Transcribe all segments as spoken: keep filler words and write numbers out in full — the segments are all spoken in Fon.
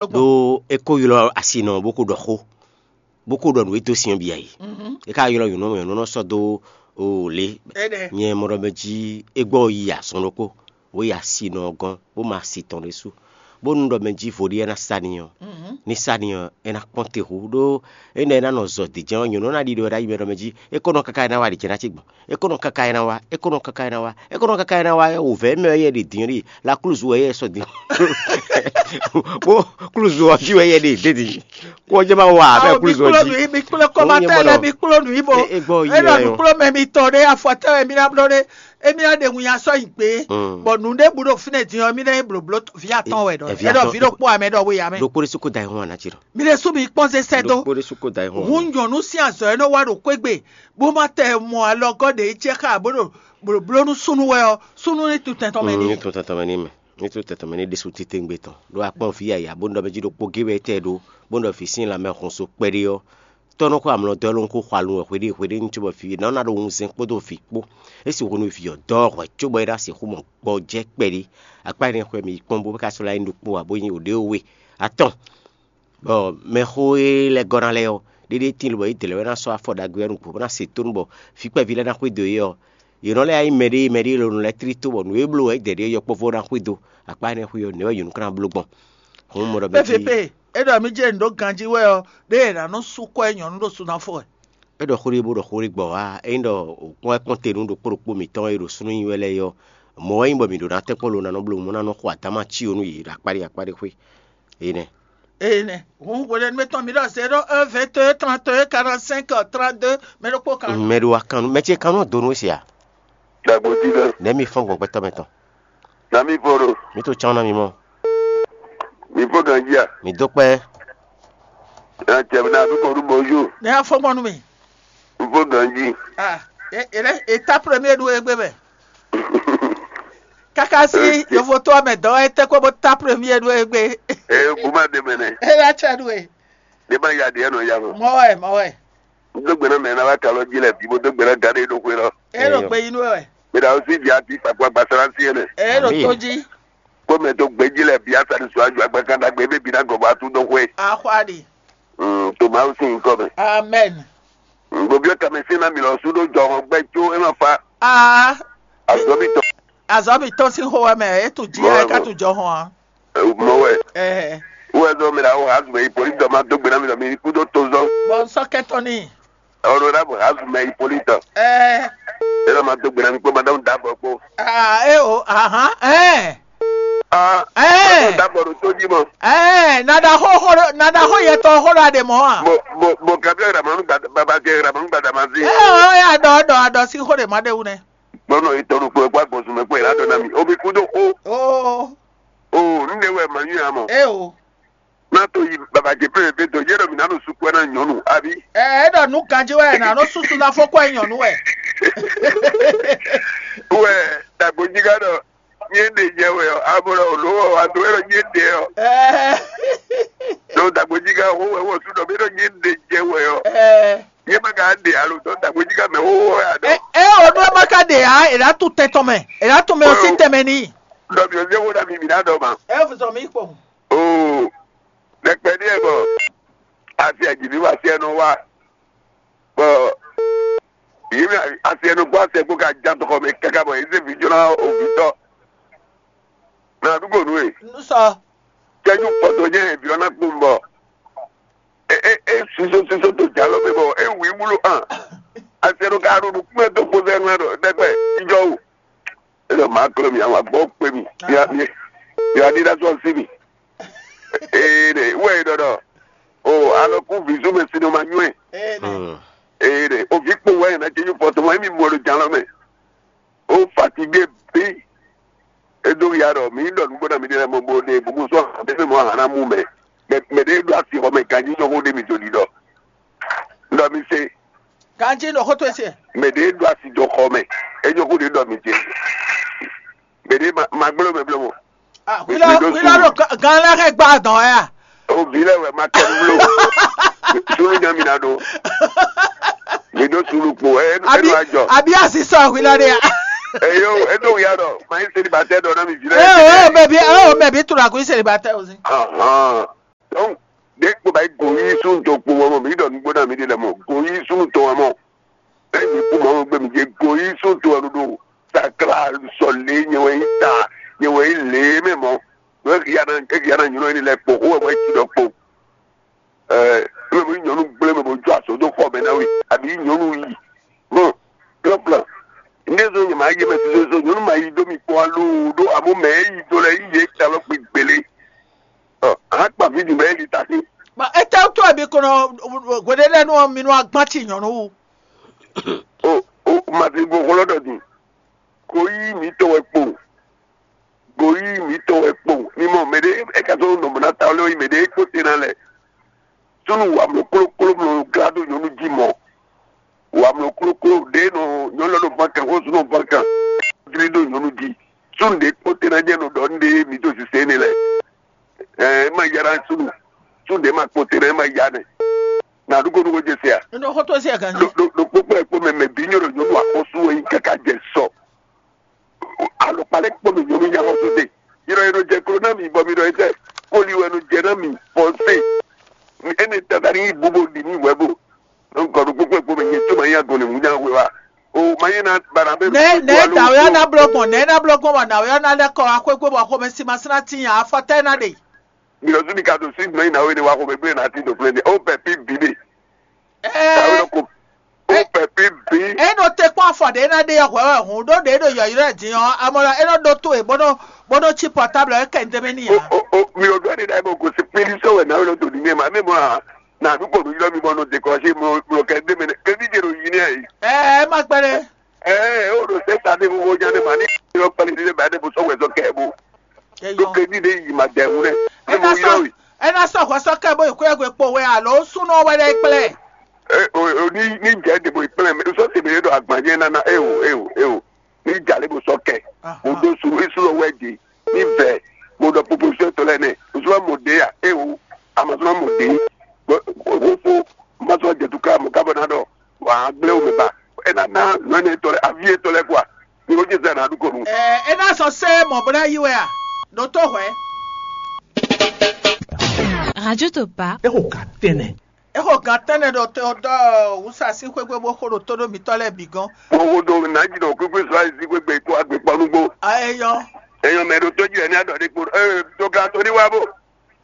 ɖó é ko ylɔ́ asinɔ bó ko ɖɔ xó, bó ko ɖɔ nǔ e dó sin ɔ́ bǐ ǎ é. É ka ylɔ́ nyɔ̌nu, nyɔ̌nu nɔ sɔ́ dó o lě. Nyɛ mɔ ɖɔ mɛ jí é gbɔ yi azɔn ɖokpó, bó yi asinɔ ɔ́ gɔ́n, bó ma asi tɔn ɖésú, bónú ɖɔ mɛ jí vo ɖé é ná sa n'i ɔ́, ní sa n'i ɔ́, é ná kpɔ́n te hú, ɖó énɛ́ é ná nɔ zɔ dǐjɛ́n ɔ́, nyɔ̌nu ɔ́ ná ɖiɖɔ ɖ'ayǐ mɛ ɖɔ mɛ jí é ko nɔ káká é ná wá ɖě jɛ́n ná cí gbɔn. É ko nɔ káká é ná wá, é ko nɔ káká é ná wá, é ko nɔ káká é ná wá, wǔvɛ́ mɛ wɛ yɛ ɖe din ɔ́ ɖi, la klúzu wɛ yɛ sɔ din. Bó klúzu ɔ́ jí wɛ yɛ ɖe dé din. Kó jẹ́ ma wa abẹ́ klúzu ɔ́ jí. Mi kplɔ́ kɔmatɛ lɛ, mi kplɔ́ nǔ yí bo. É gbɔ yi Enɔ wɛ nǔ ɔ́. Kplɔ́ mɛ mitɔn ɖé, afɔtɛ́ wɛ mi ná bló ɖé. Émi ná ɖe winnyá sɔ́ nyi gbé. Bɔ nǔ ɖé bu ɖo fínɛ́ din ɔ́, mi ná nyí blǒbló vǐ atɔn wɛ ɖɔ. Ɛ, vǐ Ɛɖɔ atɔn, vǐ ɖokpó amɛ ɖɔ we yǎ mɛ. Ɖokpó ɖésú kó da ayihún ǎ ná jí ɖɔ. Mi ɖésú mi kpɔ́n zé sɛ́ dó. Ɖokpó ɖésú kó da ayihún ǎ. Hǔn nyɔ̌nu sín azɔ̌ e nɔ wá ɖo xwé gbe, bó ma tɛ mɔ alɔgɔ́ ɖě jɛ xá bó ɖo blǒbló nú súnnu wɛ ɔ́, súnnu ní tun tɛn tɔn mɛ Mm, n'i. Ní tun tɛn tɔn mɛ n'i mɛ. Ní tun tɛn tɔn mɛ n'i ɖésú titewungbe tɔn. Ɖó akpɔ́n vǐ yǎyá bó nɔ ɖɔ mɛ jí ɖokpó gé wɛ é tɛ ɖó, bó nɔ ɖɔ vǐ sín lanmɛ hun so kpɛɖé ɔ́, tɔ́ nɔ xo amlɔ dɔ́ ló xo xwalu wɛ hweɖée hweɖée ní cóbɔ vǐ ná ná ɖo wunzɛn kpódó vǐ kpó. É sixú nú vǐ ɔ́ dɔ́ hwɛ̌ cóbɔ é ná sixú mɔ gbɔjɛ́ kpɛɖé. Akpá énɛ́ xwɛ mi yi kpɔ́n bó ka sɔ́ lɛ́ nyí ɖokpó ǎ bó nyí wǒɖéwé atɔn. Bɔ mɛxó e lɛ́ gɔ́ ná lɛ́ɛ ɔ́, ɖéɖé tíin lobɔ yě dě lɛ́ɛ wɛ ná sɔ́ afɔ ɖagbe ɔ́ nukún bó ná se tónú bɔ vǐ kpɛví lɛ́ɛ ná xwedó yě ɔ́, yě nɔ lɛ́ yá nyí mɛɖé mɛɖé e lɔ nɔ lɛ́ tlí tó bɔ nǔ e bló wɛ é dɛ ɖě yɔkpɔ́vú ɔ́ ná xwedó. Akpá énɛ́ xwé ɔ́, nɛ̌ wɛ yě nɔ ka ná bló gbɔn? Hǔn mɔ ɖɔ mɛ jí Pepe, é ɖɔ mì jɛ nǔ ɖó ganjí wɛ ɔ́, ɖé è nǎ nɔ sú kɔ ɛ nyɔ̌nu ɖo sunafɔ wɛ. É ɖɔ xó ɖé bó ɖɔ xó ɖé gbɔ wá. Ényí ɖɔ kpɔ́n wɛ kpɔ́n te nú ɖokpó ɖokpó mǐtɔn e ɖo súnnu nyi wɛ lɛ́ɛ é ɔ́, mɔ̌ wɛ nyí bɔ mǐ ɖó ná tɛ́nkpɔ́n lo ná nɔ bló mɔ̌ ná nɔ xo adáma cí ó nú yě ɖo akpáɖé akpáɖé xwé. Énɛ́. Eye nɛ. Hǔn hwenɛ́nu mǐtɔn mi ɖɔ zéro un, vingt et un, trente et un, quarante cinq, trente deux, mɛ ɖokpó kan. Mɛ ɖo wa kan nú mɛ ce kan nú donu se a? Dagbo ti lɛ. Nɛ̌ mi fɔ́n gbɔn gbɛtɔ́ mɛ tɔn? Na mi fɔ ɖo. Mi to cán ná mi mɔ. Mi fɔ ganji a? Mi dó kpɛ́. Na cɛ na du kɔ du bonjour. Ne y'a fɔ gbɔn nú mi. N fɔ ganji. Ah, e e lɛ e ta premier ɖu egbe mɛ. Kaka si yovo to mɛ dɔ e tɛ ko bo ta premier ɖu egbe. E bu ma de mɛ nɛ. E la cɛ ɖu e. Ne ma ya de ɛnɔ ya mɔ. Mɔ wɛ, mɔ wɛ. N do gbe na mɛ na wa kalɔ ji lɛ bi bo do gbe na gade ɖo xwe lɔ. E ɖo gbe yi nú wɛ. Mi da o si di ati kpakpa gbasara si ɛnɛ. E ɖo to ji. Kpɔ́mɛ dó gbějí lɛ́ɛ bǐ asadu sɔ́ ajo agbakan ɖagbe e bǐ ná gɔ̌ bɔ atún dó xwé. Axwali. Mm, to Mawu sín nyǐkɔ mɛ. Amɛn. Gbǒbyɔ́ tamɛ sín ná mǐ lɔ sú ɖó jɔhɔn gbɛ́ có é ma fa. Aa. Azɔ̌ mǐtɔn. Azɔ̌ mǐtɔn sín xó wɛ mɛ é tún jí Mɔ wɛ ɛ ká mɔ. Tún jɔhɔn ǎ. Mɔ wɛ. Ɛɛ. Wɛ zɔ mi la wo hazu mɛ yi pɔli dɔ ma dó gbe ná mi lɔ mi kú dó to zɔ. Bɔ n sɔ́ kɛtɔn n'i. Honorable Azumɛ Hippolyte. Ɛɛ. Ela ma dó gbe na mi kpó madame Dabɔ kpó. Aa, e o, ahan, ɛɛ. Ah, Ɛɛ. Madame Dabɔ ɖo tó jí mɔ. Ɛɛ, nada xó xó nada xó yɛ tɔ xó ɖo aɖe mɔ a. Bo bo bo Gabriel Ramanu gba baba jɛ Ramanu gba Damasi. Ɛɛ, o ya dɔ dɔ adɔ si xó ɖe ma ɖe wu nɛ. Gbɔnɔ yi tɔnu kpó ɛkpá gbɔnsún mɛ kpó ɛlá dɔ na mi. Omi kú dó xó. Oo. Oo, nu ɖe wɛ ma nyú ya mɔ. E o. Ná to yi baba jɛ pé pé dɔ yɛ ɖɔ mi ná ɖo sukpɛ ná nyɔnu abi. Ɛ é ɖɔ nú ganjí wɛ nà nɔ susu ná fɔ kɔ nyɔnu wɛ. Wɛ dagboji ka ɖɔ nyɛ ɖe jɛ wɛ ɔ abo ɖɔ olo ɔ ado wɛ ɖɔ nyɛ ɖe ɔ. Ɛɛ. Ɖo dagboji ka wo wɛ wɔ su ɖɔ mi ɖɔ nyɛ ɖe jɛ wɛ ɔ. Ɛɛ. Nyɛ ma ka ɖe alo tɔ dagboji ka mɛ wo wɔ ya ɖɔ. Ɛ ɛ o ɖo ma ka ɖe ya e la tu tɛtɔ mɛ e la tu mɛ o si tɛmɛ ni. Ɖɔ mi ò jẹ́ wo ɖa mi mi ná ɖɔ ma. Ɛ fusɔ mi kpɔn. Oo, ɖɛkpɛ ɖíe bɔ asi aji ní wá sí ɛnɔ wá. Bɔ yìí mi asi ɛnɔ gbɔ asi ɛgbó ka já tɔxɔ mi kaka bɔ yìí sèvi jɔna òbí tɔ. Mɛ àdúgbò nù e. Nusɔ. Kɛjú pɔtɔ jẹ́ ìbí ɔ̀nà kpó ń bọ̀. E e e suso suso to jalɔ mi bɔ e wui wúlò hàn. Asi ɛnɔ ka ɖo nukúmɛ tó kpó sɛ ɛnɔ ɖɔ ɖɛkpɛ ìjọ o. Ele ma klɔ mi awa gbɔ kpe mi. Ya mi ya di da sɔ si mi. Ee de wɛ yi dɔdɔ. O alɔ ku vizu mɛ sinu ma nyuɛ. Ee de o vi kpo wɛ na jeju pɔtɔ mɔ emi mɔ do jan lɔ mɛ. O fatigué bi. E do ya dɔ mi dɔ nugbo na mi de mɔ bo de bubu sɔ de mi mɔ hana mu mɛ. Mɛ mɛ de do asi xɔ mɛ ganji nyɔ ko de mi to di dɔ. Dɔ mi se. Ganji nɔ xɔtɔ ese. Mɛ ɖe ɖo asi jɔ xɔ mɛ. Enyo ko ɖe ɖɔ mi ce. Mɛ ɖe ma ma gblɔ mɛ blɔ mɔ. Ah, wílɔ wílɔ ɖo gan lɛ xɛ gba dɔn ya. O bi lɛ wɛ ma kɛ blo. Sunu nya mi na do. Mi do sunu kpo ɛ ɛ do ajɔ. Abi asi sɔ wílɔ de ya. Eyo edo ya dɔ ma yi seli ba tɛ dɔ na mi bi lɛ. Ee o mɛ bi o mɛ bi tura ko seli ba tɛ o si. Ahan. súnnu tɔn kpowun wɛ mɔ, mǐ ɖɔ nǔgbó ná mǐ ɖe lɛ́ɛ mɔ, go yí súnnu tɔn wɛ mɔ. Ényí kú Mawu gbe mǐ jɛ go yí súnnu tɔn wɛ ɖo ɖo sakla sɔ lě nyɛ wɛ nyí ta, nyɛ wɛ nyí lě mɛ mɔ. Ɖo é hiya ná é hiya ná nylɔ énɛ́ lɛ́ɛ kpo, xó wɛ bɔ é ci ɖɔ kpo. Ɛ, mɛ mɔ nyɔnu gblé mɛ bɔ jó azɔ dó xɔ mɛ ná we, àbí nyɔnu yi. Hɔn, plan plan. Ndé zɔn nyɛ ma yé mɛ sísɛ zɔn nyɔnu ma yi dó mi kpɔ́n alo ɖó amú mɛ é yi dó lɛ yí yé ta lɔ kpi gbélé. Ɔ, a kpa fí di mɛ é li ta sí. Bɔn étɛ́ wútu wɛ mi ko nɔ hweɖéɖénu ɔ́ mi nɔ agbán ci nyɔ̌nu wú? O o mati bo xlɔ́ ɖɔ din. Ko yí mǐtɔn wɛ kpo. Go yí mǐtɔn wɛ kpo. Mi mɔ mɛ ɖé é ka zɔn nɔ mɔ ná ta lé yi mɛ ɖé é kpó te ná lɛ. Súnnu wamlɔ klókló mlɔ glá ɖo nyɔ̌nu jí mɔ. Wamlɔ klókló ɖě nɔ nyɔ̌nu lɔ nɔ ván kan xó súnnu ván kan. Glí ɖo nyɔ̌nu jí. Súnnu ɖě kpó te ná jɛ nɔ ɖɔ nɖé mǐ dó sisɛ énɛ́ lɛ. Ɛ é ma yára súnnu. Súnnu ɖě ma kpó te ná é ma yá nɛ. Na ɖu ko ɖu ko jɛ se a? Ɖo xótó sí aganji. Ɖo ɖo ɖo kpókpó ɛ kpó mɛ mɛ bí nyɔ́ ɖo nyɔ́nu axɔ́sú wɛ nyí káká jɛ sɔ. Alɔkpa lɛ́ kpó mɛ nyɔ́nu nyá xɔ́sú ɖe. Yɔ́ yɛ ɖo jɛ klo ná mi bɔ mi ɖɔ etɛ. Kóli wɛ nɔ jɛ ná mi fɔnsé. Énɛ́ tata ní yí bú bó ɖi ní wɛ bó. Nɔ gɔ̌ ɖo kpókpó ɛ kpó mɛ nyɛ tó ma nyí agɔn lě mú nyá hwe wá. O ma nyí ná bara bɛ. Nɛ nɛ dawɛ ɔ́ ná blɔ́ gbɔn nɛ ná blɔ́ gbɔn bɔ nǎwe ɔ́ ná lɛ́ kɔ wá xwé gbé bɔ xomɛ simasina tínya afɔtɛ́ ná ɖe. Mi lɔ zú mi ka ɖo sí nɔ nyi na we ne wa xo mɛ gblé na ti ɖo gblé ne o pɛ pi bi de. Tawe lɔ ko o pɛ pi bi. E nɔ te kpɔn afɔ ɖe na ɖe hwɛ wɛ hun ɖo ɖe ɖo yɔyɔ din ɔ amɔ la e nɔ ɖo to e bɔ nɔ bɔ nɔ tsi pɔtablu ɛ kɛ ndeme ni o ya. O o mi o dɔ de da e bɔ ko si pili sɔ wɛ na we lɔ do ni ne ma ne mɔ a na du kpɔnu yɔ mi bɔ nɔ dekɔsi mɔ mɔ kɛ ndeme ne kɛ mi de ɖo yi ne ayi. Ɛ ɛ ma gbɛ ɖe. Ɛɛ o ɖo sɛta ɖe vovo nya ɖe ma ní yɔ kpali ɖe ba ɖe bo sɔ wɛzɔ kɛ bo. Ɖo kedi ɖe yi ma dɛ ŋu ɖe. Ne mo yɔ yi. Ena sɔ hwɛ sɔ kɛ bo yi kúyɛ gbe kpo wɛ alo sunɔ wɛ ɖe kplɛ. Ɛ o o ní ní jɛ ɖe bo yi kplɛ mɛ sɔ ti mi ɖe ɖo agbadze nana eo eo eo ní jalè bo sɔ kɛ. O do su esu lɔ wɛ de ní vɛ mo ɖɔ proposition tɔ lɛ nɛ o sɔ mo de ya eo a ma sɔ mo de. Bo o fo ma sɔ jɛ tu ká mo ká bɔ na ɖɔ. Wǎ gblé wú mɛ ba. É ná ná nɔ énɛ́ tɔ́ lɛ́ɛ aví étɔ́ lɛ́ɛ kɔ a? Mi ko jɛ zɛ nǎ ɖu ko nu. Ɛ é ná sɔ sɛ́ mɔ̌ bó ná yí wɛ a? Ɖó tó hwɛ̌. Radio Topa. É xo gǎn tɛnɛ. É xo gǎn tɛnɛ ɖo tó ɖɔ wǔsa sín xwé gbé bó xo ɖo tó ɖó mitɔ́ lɛ́ɛ bǐ gɔ́n. Mo wo ɖo nǎjínɔ kúkú sɔ ayizí gbégbé kó agbèkpɔ́núgbó. Ayɔ. Èèyàn mɛ ɖo tó jí ɛ ní àdɔ̀dé kpo. Ee, tó ga tó ní wá bó.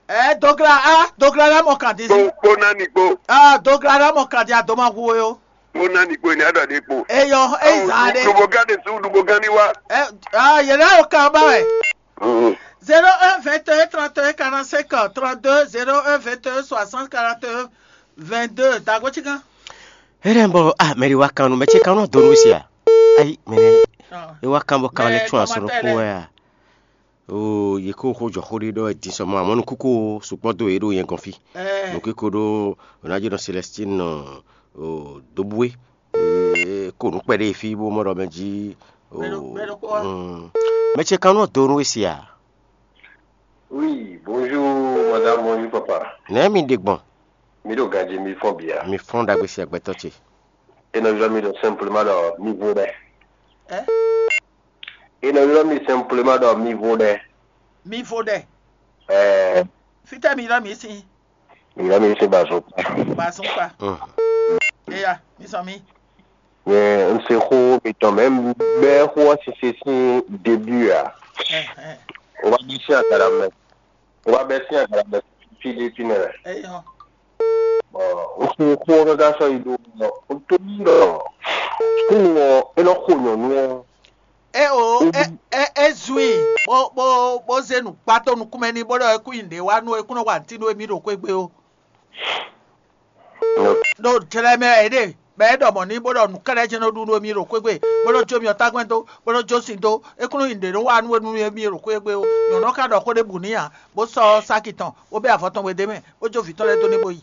Ɛ dogla a dogla la mɔ kan di si. Kpo kpo nani kpo. Aa dogla la mɔ kan di a dɔ ma hu o. Kpo nani kpo ni a ɖɔ de kpo. Eyɔ eyi zan de. Dubogan de su dubogan ni wa. Ɛ aa yɛlɛ o kan ba wɛ. Zéro un vingt et un trente et un quarante cinq trente deux zéro un vingt et un soixante quarante et un vingt deux dago ci kan. Ere bɔ ah mɛ de wa kan nu mɛ ce kan nu donu sia. Ayi mɛ de e wa kan bɔ kan le tún aso ko ya. Oo yě ko xó jɔxó ɖé ɖɔ wɛ din sɔ mɔ amɔ̌ nukúnkún o sukpɔ́ dó yě ɖo nyɛ gɔ́n fí. Nukúnkún ɖó Ronaldo Celestine nɔ Dobue ko nǔ kpɛɖé fí bó mɔ ɖɔ mɛ jí. Mɛ ce kan nɔ do nú we sia. Oui, bonjour madame, bonjour papa. Nɛ̌ mi ɖe gbɔn? Mi ɖo ganjí mi fɔ́n bia? Mi fɔ́n ɖagbe sia gbɛtɔ́ ce. E nɔ ylɔ́ mi ɖɔ simplement ɖɔ mi vo ɖɛ. E nɔ ylɔ́ mi simplement ɖɔ mi vo ɖɛ. Mi vo ɖɛ. Ɛɛ. Fítɛ́ mi ylɔ́ mi sín? Mi ylɔ́ mi sín bazɔn kpa. Bazɔn kpa. Eya, mi sɔ mi. Nyɛ un se xó mitɔn mɛ un bɛ́ xó ɔ́ sise sín début a. O wá bɛ́ sín agala mɛ. O wá bɛ́ sín agala mɛ fí ɖé fínɛ́ wɛ. Eyɔ. Bɔ un se xó ɔ́ káká sɔ́ yi ɖó ɔ́, un tónú ɖɔ súnnu ɔ́ é nɔ xo nyɔ̌nu ɔ́. E o e e e zun i bó bó bó zé nǔgbátɔ́ nukúnmɛ n'i bó ɖɔ é kú nyi nǔɖé wá nú é kún nɔ wa nǔtí nú émí ɖo xwé gbe ó. Ɖo jlɛ mɛ wɛ é ɖe, bɔ é ɖɔ mɔ̌ n'i bó ɖɔ nǔ kɛ́ɖɛ́ jɛ́n nɔ ɖu nú émí ɖo xwé gbe, bó nɔ jó myɔtágbɛ́n dó, bó nɔ jó sin dó, é kún nɔ nyi nǔɖé nɔ wa nú émí ɖo xwé gbe ó. Nyɔ̌nu ɔ́ ka ɖɔ xó ɖěbǔ n'i ǎ, bó sɔ́ sáki tɔn, bó bɛ́ avɔ tɔn we d'é mɛ, bó jó vǐ tɔn lɛ́ɛ dó n'i bó yi.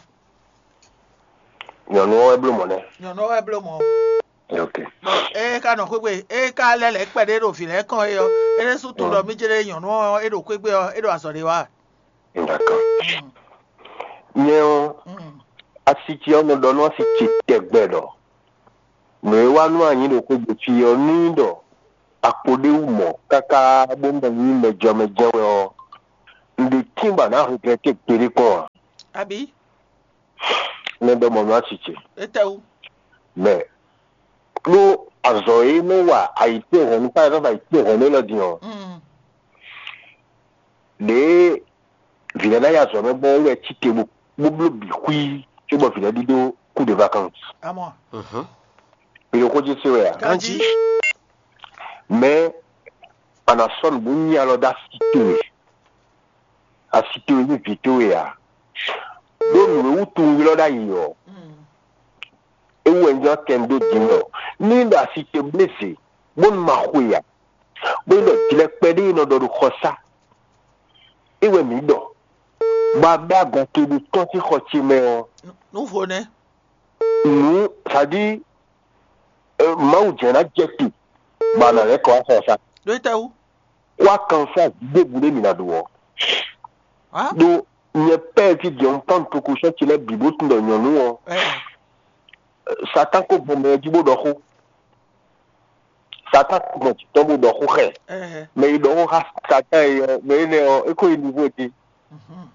Nyɔ̌nu ɔ́ wɛ bló mɔ̌ nɛ́. Nyɔ̌nu ɔ́ wɛ bló mɔ̌. Ok. Ée ka nɔ xwé gbe, ée ka lɛ́ lɛ̌ kpɛɖé ɖo vǐ lɛ́ɛ kɔn é ɔ́, é ɖésú tunwun ɖɔ mí jlé nyɔ̌nu ɔ́ é ɖo xwé gbe ɔ́, é ɖo azɔ̌ ɖé wa. D'accord. Nyɛ ɔ́, asi ce ɔ́ nɔ ɖɔ nú asi ce tɛgbɛ ɖɔ nǔ e wa nú a nyǐ ɖo xwé gbe fí ɔ́, nú nyí ɖɔ a kpo ɖ'é wú mɔ̌ káká bó mɔ nyí mɛjɔmɛjɛ wɛ ɔ́, un ɖe tín bɔ a nǎ regrɛ́té gbeɖé kpɔ́n ǎ. Abǐ? Mɛ ɖɔ mɔ̌ nú asi ce. Etɛwu. Mɛ ɖó azɔ̌ e nɔ wa ayǐtéhɔ̌nnu, par exemple ayǐtéhɔ̌nnu élɔ́ din ɔ́, Mm. ɖě vǐ lɛ́ɛ ná yi azɔ̌ mɛ gbɔn é wɛ cí te bó bó bló bǐ xwí cóbɔ vǐ lɛ́ɛ ɖíɖó coup de vacances. Amɔ. Mǐ ɖo xó jí se wɛ a? Ganji. Mɛ a nǎ sɔ́ nǔ bó nyi alɔ dó asi towe, asi towe ní vǐ towe ǎ. Ɖó nǔ e wútu un ylɔ́ ɖ'ayǐ ɔ́, Mm. é wú wɛ un jlɔ́ kɛ un dó din ɖɔ ní ɖo asi ce blé zě bónú ma xwe ǎ, bónú ɖɔ jlɛkpɛ ɖé e nɔ ɖɔ ɖo xɔsá é wɛ mǐ ɖɔ, bɔ a bɛ́ agɔn towe ɖo tɔ́n sín xɔ ce mɛ ɔ́, Nǔvo nɛ́. nǔ sadi Mawu jɛ́n ná jɛ te bɔ a nǎ lɛ́ kɔ wá xɔsá. Ɖó etɛwu. Kó akanflázi ɖěbǔ ɖé mǐ ná ɖu ɔ́. Hã? Ɖó nyɛ pɛ́ jí jɛ un tɔ́n toku sɔ́ ce lɛ́ɛ bǐ bó tunwun ɖɔ nyɔ̌nu ɔ́, Ɛ. Satan ko gbɔn mɛ jí bó ɖɔ xó. Satan ko gbɔn jǐ tɔn bó ɖɔ xó xɛ. Ɛ. Mɛ yi ɖɔ xó xá Satan yi ɔ́, mɛ énɛ́ ɔ́, é ko yi nivo din. Mhm.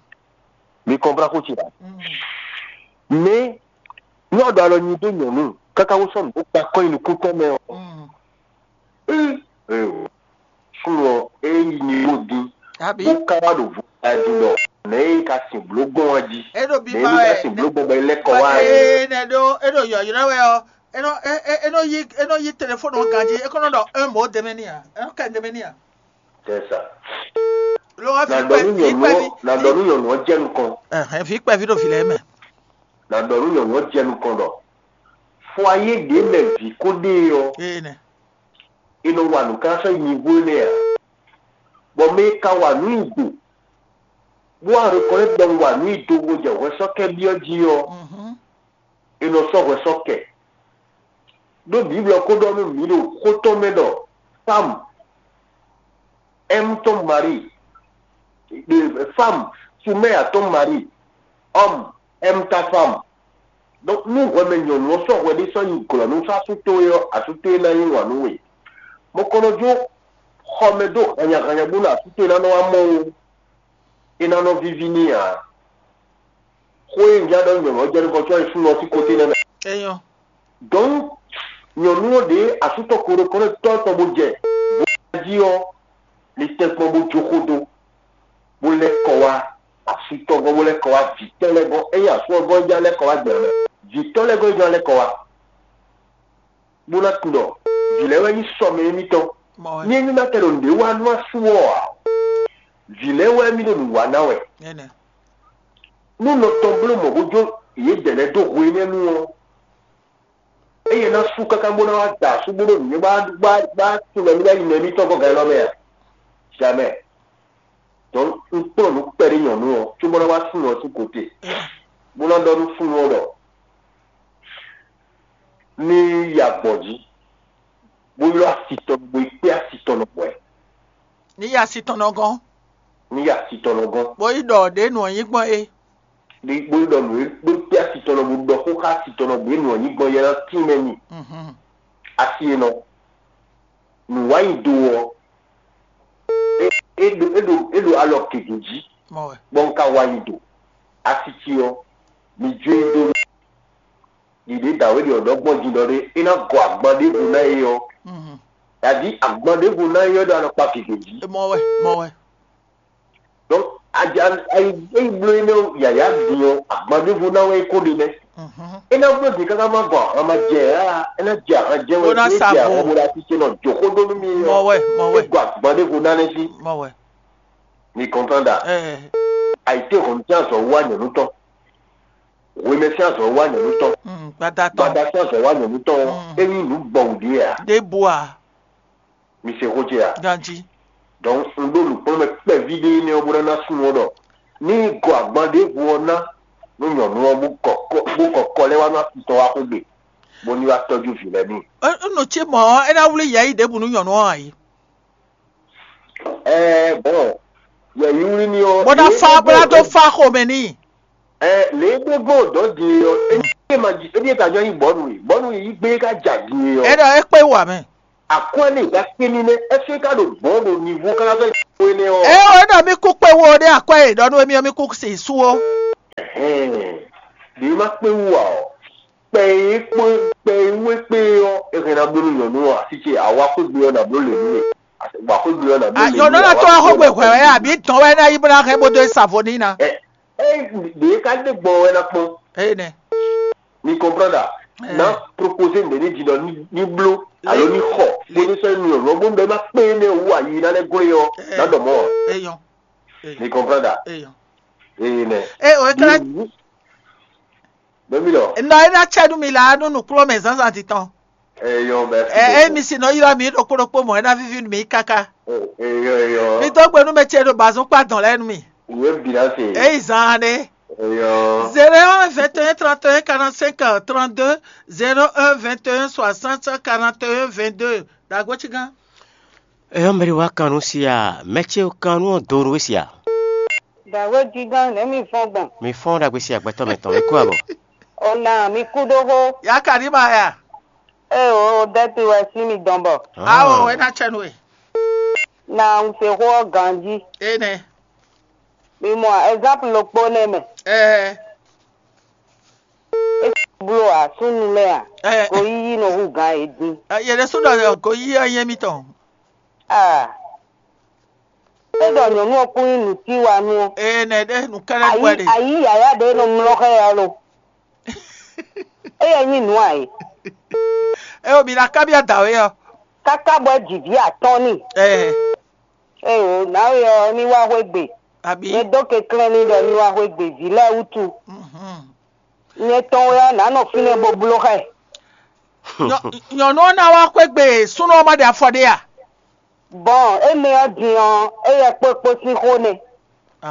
Mi kɔnplá xó ce ɖa. Mm. Mɛ ní ɔ́ ɖo alɔ nyi dó nyɔ̌nu káká wó sɔ́ nǔ bó kpa kɔ́ nyi nukún tɔn mɛ ɔ́. Mm. Ee, ee, o. Fún ɔ, é yi nivo din. Abi. Bó ká wá ɖo vo ɛ din ɖɔ nɛ̌ é ka sin bló gbɔn wá jí. E ɖo bi Nɛ̌ ma é ka wɛ. sin bló gbɔn bɔ é lɛ́ kɔ wá ɛ. Ee, nɛ ɖo e ɖo yɔyɔlɔ wɛ ɔ. E nɔ e e e nɔ yi e nɔ yi telefɔni ɔ ganji. E kɔnɔ ɖɔ un mɔ dɛmɛ ni a. E nɔ kɛ dɛmɛ ni a. C'est ça. Lo wa Na fi dɔ nú kpɛ fi nyɔnu kpɛ ɔ, fi. na dɔ nú nyɔnu ɔ jɛ nukɔn. Ɛhɛn, fi kpɛ fi ɖo fi lɛ mɛ. Na dɔ nú nyɔnu ɔ jɛ nukɔn ɖɔ. Fɔ ayé ɖě mɛ vǐ kó ɖe ɔ́, Ee nɛ. è nɔ wa nǔ ká sɔ́ nyivo énɛ́ ǎ. Bɔ mɛ e ka wa nǔ nyi do, bó wá reconnaître ɖɔ un wa nǔ nyi do bó jɛ hwɛsɔ́kɛ́ byɔ́ jí ɔ́, Mhm. è nɔ sɔ́ hwɛsɔ́kɛ. Ɖó Biblu ɔ́ ko ɖɔ nú mǐ ɖo xó tɔn mɛ ɖɔ femme aime ton mari, femme soumet à ton mari, homme aime ta femme. Donc nú hwɛmɛ nyɔ̌nu ɔ́ sɔ́ hwɛ ɖé sɔ́ nyi glɔ̌ nú asú towe ɔ́, asú towe ná yí wǎn nú we. Mɔkɔnɔjó xɔmɛ dó hannyahannya bónú asú towe ná nɔ wá mɔ ó, é ná nɔ víví n'i ǎ. Xó e un já ɖɔ nyɔ̌nu ɔ́ jɛ nukɔn có wá yi súnnu ɔ́ sín kóté nɛ́ mɛ. Eyɔn. Donc nyɔ̌nu ɔ́ ɖě asú tɔn ko ɖokpónɔ tɔ́ tɔn bó jɛ bó jí ɔ́, ní tɛ́nkpɔ́n bó jó xó dó, bó lɛ́ kɔ wá asú tɔn gɔ́n, bó lɛ́ kɔ wá vǐ tɔn lɛ́ɛ gɔ́n. Ényí asú ɔ́ gɔ́n é já lɛ́ kɔ wá gbɛ̌ mɛ, vǐ tɔn lɛ́ɛ gɔ́n é já lɛ́ kɔ wá. Bó ná tunwun ɖɔ vǐ lɛ́ɛ wɛ nyí sɔmɛ émítɔn. Mɔ wɛ. Ní ényí ná tɛ ɖo nǔɖé wa nú asú ɔ́ ǎ, vǐ lɛ́ɛ wɛ mì ɖo nǔ wa ná wɛ. Ɛnɛ. Nú nɔ tɔn bló mɔ̌ bó jó yědɛɛ lɛ́ɛ dó hwe énɛ́ nu ɔ́, eye ná sú káká bó ná wá da asú bó ɖo nǔnywɛ́ bá bá bá tunwun mɛ mì ná yi mɛ mítɔn gɔ́ gǎn élɔ́ mɛ a? Jamais. Donc un kplɔ́n nǔ kpɛɖé nyɔ̌nu ɔ́ cóbó ná wá súnnu ɔ́ sín kotè, bó ná ɖɔ nú súnnu ɔ́ ɖɔ ní yi agbɔ̌n jí, bó ylɔ́ asi tɔn bó yi kpé asi tɔn nɔ hwɛ̌, Ní ya si tɔn nɔ gɔn. ní yi asi tɔn nɔ gɔ́n. Bó yi ɖɔ ɖě nǔ ɔ́ nyí gbɔn é. Ní bó yi ɖɔ nǔ e bó kpé asi tɔn nɔ bó ɖɔ xó xá asi tɔn nɔ bó yi nǔ ɔ́ nyí gbɔn yɛ ná tín mɛ n'i. Mhm. Asi e nɔ nǔ wá nyi do ɔ́, é é ɖo é ɖo é ɖo alɔ gěgé jí, Mɔ wɛ. bɔ un ka wá nyi do. Asi ci ɔ́, mi jó e dó ɖiɖe dǎwe ɖi ɔ̌ ɖɔ gbɔn din ɖɔ ɖé é ná gɔ agban ɖěvo ná é ɔ́, Mhm. yǎdi agban ɖěvo ná é ɔ́ ɖo alɔkpa gěgé jí. Mɔ wɛ. Mɔ wɛ. Donc ayi ayi eyi bló énɛ́ yǎyá din ɔ́, agban ɖěvo ná wɛ é kó ɖe nɛ́. Mhm. É ná bló din káká má gɔ ahan ma jɛ ǎ, é ná jɛ ahan jɛ wɛ Bó ná é sa jɛ vo. ahan bó ná títí nɔ jǒxó ɖó nú mì Mɔ ɔ́, wɛ. Mɔ é wɛ. gɔ agban ɖěvo ná nɛ́ sí. Mɔ wɛ. Mi kɔntan ɖa. Ɛɛ. Ayǐtéhɔ̌nnu sín azɔ̌ wá nyɔ̌nu tɔn. Hwemɛ sín azɔ̌ wá nyɔ̌nu tɔn. Mm, gbada tɔn. Gbada sín azɔ̌ wá nyɔ̌nu tɔn. Mm. É nyí nǔ gbɔwǔ ɖé a? Ɖěbǔ a. Mi se xó ce a? Ganji. Donc un ɖó nǔkplɔ́nmɛ kpɛví ɖé énɛ́ ɔ́ bó ná ná súnnu ɔ́ ɖɔ ní gɔ agban ɖěvo ɔ́ ná nú nyɔ̌nu ɔ́ bó kɔ kɔ bó kɔ kɔ lɛ́ wá nú asitɔ wá xwé gbe, bó ní wá tɔ́jú vǐ lɛ́ɛ n'i. Nɔ ce mɔ ɔ́, é ná wlí yɛ yi ɖěbǔ nú nyɔ̌nu ɔ́ ǎ yi. Ɛɛ bɔn yɛyi wlí ní ɔ́. Bó ná fa bó ná tó fa xomɛ n'i. Ɛ lě e gbé gbɔn dɔ̌ din e ɔ́, é ní ma jí é ní ka jɔ nyi bɔ̌nu e bɔ̌nu e yí gbé ka ja din e É ɔ́. Ɖɔ é kpé wà mɛ. Akwɛ́ ní ka kpé ní nɛ́ ɛsɛ ka ɖo gbɔn ɖo nivo káká fɛ ko énɛ́ ɔ́. É o é ɖɔ mí kú kpé wo ɖé akwɛ́ e ɖɔ nú émí ɔ́ mí kú si sú ó. Ɛhɛn. Ɖě má kpé wú ǎ ɔ́, kpɛ e kpó kpɛ e wú é kpé ɔ́, é hɛn ná bló nú nyɔ̌nu ɔ́, así ce àwa xwé gbe ɔ́ nǎ bló lě nú mì. Àwa xwé gbe ɔ́ nǎ bló lě nú mì. Yǒnú ná tó wá xó gbe hwɛ̌ wɛ, àbí dɔn wɛ ná yí bó ná hɛn bó dó sa vo n'i ná? Ɛ ɛ ɖě ká ɖe gbɔn wɛ ná kpɔ́n. Énɛ́. Mi comprendre? Ná proposer mɛ ní jìnnà ní bló alo ní xɔ bó ní sɔ́ nú ɔ̀rọ̀ bó ń bɛ má kpé énɛ́ wú ayi ná lɛ́ glé ɔ́ ná ɖɔ mɔ̌ ǎ. Eyɔn. Mi comprendre? Eyɔn. Énɛ́. E o ekla. Bɛ́mí lɔ. Nɔ e ná cɛ nú mi la nú nǔkplɔ́nmɛ zǎnzǎn titɔn. Eyɔn, merci. Ɛ emi si nɔ ylɔ́ mi ɖokpó ɖokpó mɔ̌ é ná víví nú mi káká. Eyɔn, eyɔn. Mi dó gbe nú mɛ ce ɖo bazɔn kpá dɔn lɛ́ɛ nú mi. Wě bǐ ná se. Eyi zan ne. Eyɔn. Zéro un vingt et un trente et un quarante-cinq trente-deux, zéro un vingt et un soixante quarante et un vingt-deux. Dagbo ci gán. Eyɔn, mɛ ɖé wá kan nú si a, mɛ ce kan nú ɔ́ do nú we si a. Dǎwe dígán nɛ̌ mi fɔ́n gbɔn? Mi fɔ́n ɖagbe si agbɛtɔ́ mɛtɔn, mi kú abɔ. Ona mi kú ɖó xó. Ya ka ní ma ya? Ée o dɛ́ti wɛ sín mi dɔn bɔ. Awo é ná cɛ nú we. Na un se xó ɔ́ ganjí. Énɛ́. Mi mɔ ɛzáplu ɖokpó nɛ́ mɛ. Ɛɛ. É bló ǎ súnnu lɛ́ɛ a? Ɛɛ. Goyíyí nɔ hú gǎn yě dín. Yě ɖésú ɖɔ goyíyí ɔ́ nyí émítɔn. Ah. É ɖɔ nyɔ̌nu ɔ́ kún nyí nǔtíwanú ɔ́. Ee nɛ ɖé nǔkɛ́nɛ́ nú wɛ ɖe. Ayǐ yǎyá ɖě nɔ mlɔ́ xá ɛ ɔ́ lo. Éyɛ́ nyí nǔ ǎ é. É o mi ná kábíyá dǎwe ɔ́. Káká bɔ é ji vǐ atɔ́ɔ́n n'i. Ɛɛ. Éyo, nǎwe ɔ́ ní wá xwé gbe. Abǐ. Nyɛ dó kɛnklɛ́n n'i ɖɔ ní wá xwé gbe vǐ lɛ́ɛ wútu. Mhm. Nyɛ tɔn wɛ ɔ́, nǎ nɔ fínɛ́ bó bló xá ɛ. Nyɔ- nyɔ̌nu ɔ́ ná wá xwé gbe súnnu ɔ́ má ɖe afɔ ɖé a? Bɔn énɛ́ ɔ́ din ɔ́, éyɛ́ kpókpó sín xó nɛ́.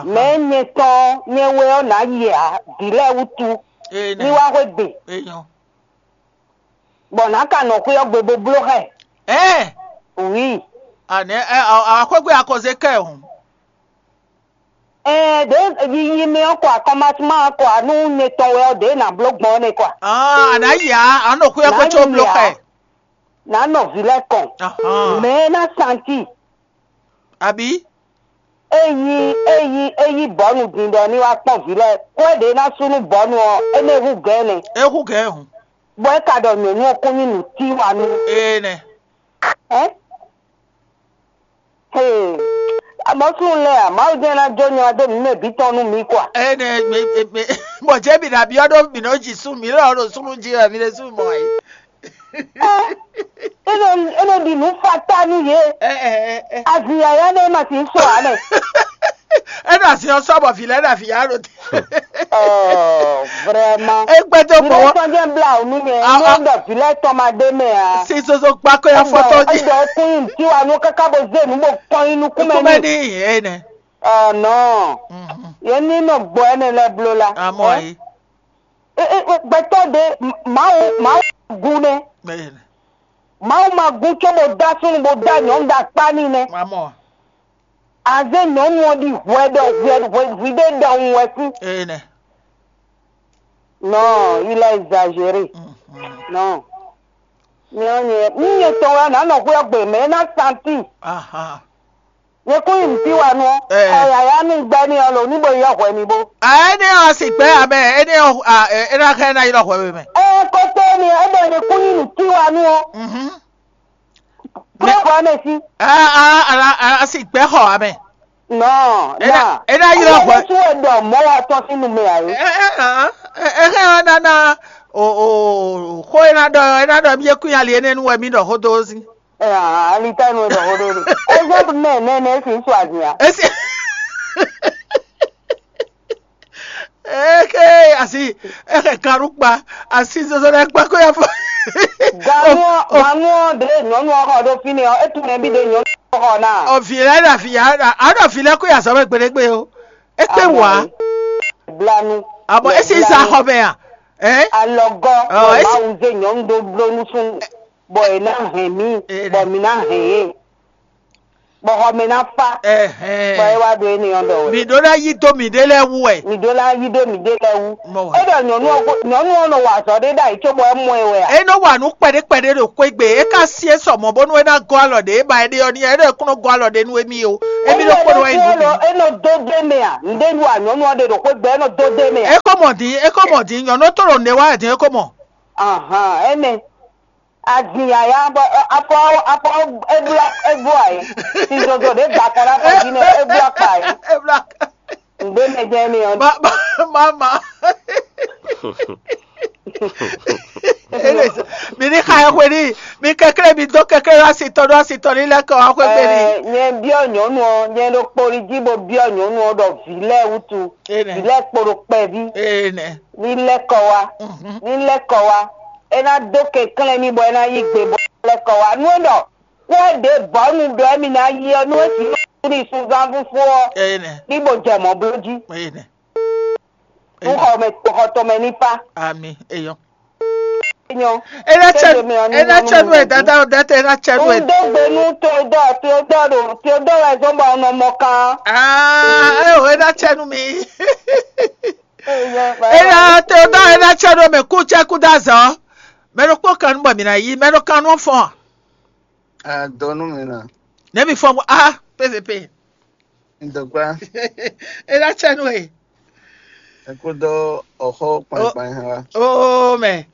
Mɛ̌ nyɛ tɔn nyɛ wɛ ɔ́ nǎ yi ǎ, vǐ lɛ́ɛ wútu, ní wá xwé gbe, bɔ nǎ ka nɔ xwé ɔ́ gbe bó bló xá ɛ. Ɛɛ. Wǐ. Anɛ ɛ awǎxwégbe akɔzé kɛ hǔn. Ɛɛ ɖě yiyi mɛ ɔ́ kɔ akɔmasúma ɔ́ kɔ nú nyɛ tɔn wɛ ɔ́, ɖě nǎ bló gbɔn ɔ́ nɛ́ kɔ. Aa a nǎ yi ǎ, a nɔ xwé ɔ́ kó có bló xá ɛ. Nǎ nɔ vǐ lɛ́ɛ kɔn. Mɛ e ná santi. Abǐ. Ényí ényí ényí bɔ̌nu din ɖɔ ní wá kpɔ́n vǐ lɛ́ɛ, kó é ɖě ná sú nú bɔ̌nu ɔ́, é nɛ́ hú gɛ̌n nɛ́. É hú gɛ̌n hǔn. Bɔ é ka ɖɔ nyɔ̌nu ɔ́ kún nyí nǔtíwanú. Ee nɛ. Ɛ? Hee, amɔ̌súnnu lɛ́ɛ a, Mawu jɛ́n ná jó nya dó nǔ mɛ bǐ tɔn nú mǐ kɔ a? Ene mǐ mǐ mǐ bɔ jɛ́ mǐ ná byɔ́ ɖó mǐ nɔ́ ji sú mǐ lɔ ɖo súnnu jí wɛ mǐ ɖésú mɔ ǎ. É nɔ é nɔ ɖi nǔ fata nú yě. Azin yǎyá nɛ́ ma sǐ sɔ ǎ nɛ. É nɔ azin ɔ́ sɔ́ bɔ vǐ lɛ́ɛ ɖo avǐ yá ɖo te. Oh, vraiment. É gbɛdó mɔwɔ. Tɔn jẹ́ bla ònú yẹn. Ní ó dọ̀ vǐ lɛ́ɛ tɔn ma dé mɛ a. Sí soso gbáko ya fɔtɔ jí. Ẹ̀dọ̀ kún yìí tí wà ní káká bó zé nú bó kpɔn yín nukún mɛ Kúmẹ́ ní. Ní Ẹ̀ nɛ. Ọ̀ nɔ. Yẹn ní nɔ gbọ́ ẹni lɛ blo la. Àmọ́ yìí. Gbẹtɔ de Mawu Mawu gu nɛ. Bẹ́ẹ̀ ni. Mawu ma gu tso bó dá súnnu bó dá nyɔ̌nu dá kpá ní nɛ. Àmọ́. Azé nyɔ̌nu ɔ́ ɖi hwɛ ɖɔ hwɛ hwɛ hwi ɖé ɖɔhun wɛ sín. Ee nɛ. Non, il a exagéré. Non. Nyɛ ɔ́ nyɛ ní nyɛ tɔn wɛ nǎ nɔ xwé ɔ́ gbe mɛ é ná santi. Aha. Nyɛ kún yi nǔtí wa nú ɔ́. Ɛ. Xɔ yǎyá nú gbɛ́ ní ɔ́ lo ní bo yɔ hwɛ mi bó. A énɛ́ ɔ́ si gbɛ́ amɛ énɛ́ ɔ́ a ɛ é ná xá ɛ ná ylɔ́ hwɛ we mɛ. Ɛ kótó ni é ɖɔ nyɛ kún yi nǔtí wa nú ɔ́. Mhm. Kúrò hwɛ mɛ sí. A a a a a si gbɛ́ xɔ amɛ. Nɔ É ná- na é ná ylɔ́ hwɛ. Sú ɛ ɖɔ mɔ̌ wa tɔn sín nu mɛ ǎ é. Ɛ ɛ ɛ ɛ ɛ ɛ ná ná o o xó é ná ɖɔ é ná ɖɔ mí é kún ali énɛ́ nú wɛ mí ɖɔ xó dó sí. Ɛ, ali tá nu ɖɔ xó dó ɖe. Exemple mɛ nɛ nɛ si ŋutsu azin a. Esi eke asi eke kaɖu kpa asi zozo ɖe kpa ko ya fɔ. Ganu ganu ɖe nyɔnu xɔ ɖo fínɛ ɔ, etu nɛ bi ɖe nyɔnu xɔ na. Ɔ vi lɛ ɖa vi ya ɖa aɖɔ vi lɛ ko ya zɔ bɛ gbeɖegbe o. Ekpe wa. Blanu. Abɔ esi sa xɔ mɛ a. Ɛ. Alɔgɔ Ɔ, esi- Mawu ze nyɔnu ɖo bló nusunu bɔ e ná hɛn mí bɔ mí ná hɛn yé. Bɔ xɔ mɛ ná fá. Bɔ é wá ɖo énɛ́ ɔ́ ɖɔ wɛ. Mǐ ɖó ná yí dó mǐɖée lɛ́ɛ wú wɛ. Mǐ ɖó ná yí dó mǐɖée lɛ́ɛ wú. Mɔ wɛ. É ɖɔ nyɔ̌nu ɔ́ nyɔ̌nu ɔ́ nɔ wa azɔ̌ ɖé ɖ'ayǐ cóbɔ é mɔ ɛ wɛ a? É nɔ wa nǔ kpɛɖé kpɛɖé ɖo xwé gbe, é ka syɛ́n sɔ mɔ̌ bónú é ná gɔ́ alɔ ɖě é ba é ɖe ɔ́ n'i, é ɖɔ é kún nɔ gɔ́ alɔ ɖé nú émí ó. Émí ɖokpónɔ wɛ nyí nǔ bǐ. É nɔ dó dó mɛ a? Nǔɖé nu a nyɔ̌nu ɔ́ ɖe ɖo xwé gbe é nɔ dó dó mɛ a? É kó Mɔ din, é ko mɔ din, nyɔ̌nu tó ɖo nɛ wá wɛ din, é ko mɔ. Ahan, énɛ́. Azin yǎyá bɔ afɔ afɔ ebla ebo ayé. Sizozo ɖě da kɔ ɖe afɔ jí nɛ ebla kpa ayé. Ebla. Ngbé mɛ jẹ́ mi ɔ́. Ma ma ma ma. Ele mi ní xa ɛ hwe ní, mi kɛklɛ mi dó kɛklɛ lɔ asitɔ ɖó asitɔ ní lɛ́ kɔ wá xwé gbe ní. Ɛ, nyɛ biɔ nyɔnu ɔ́, nyɛ ɖo kpoli jí bo biɔ nyɔnu ɔ́ ɖɔ vǐ lɛ́ɛ wútu, Ene. Vǐ lɛ́ɛ kpo ɖo kpɛví. Ene. Ní lɛ́ kɔ wá, ní lɛ́ kɔ wá. É ná dó kɛnklɛ́n mì bɔ é ná yí gbe bɔ é ná lɛ́ kɔ wá. Nú é ɖɔ xó ɔ́ ɖě bɔ̌nu ɖɔ émí ná yí ɔ́, nú é sixú ní sunzán fúfú ɔ́, Ene. Ní bo jɛ mɔ̌ bló jí. Ene. Nú xɔ mɛ xɔ tɔn mɛ ní fá. Ami eyɔ. Nyɔ. Ena cɛ Kéde mɛ ɔ́ ní ena nyɔ cɛ nú nu ɛ mɛ dada o data ena cɛ nú ɛ. Un dó gbe nú Teodoro, Teodoro ɖo Teodoro wɛ zɔn bɔ un nɔ mɔ kan. Aa eo ena cɛ nú mi. Ena Teodoro ena cɛ nú mɛ kú cɛ kú dá zɔ. Mɛ ɖo kpó kan nú bɔ mi na yí mɛ ɖo kan nú fɔn. Adɔ nú mi na. Ne mi fɔn ah pvp. Ntɔkpa. Ena cɛ nú ɛ. Ekudo ọxɔ kpankpan ha. Oo mɛ.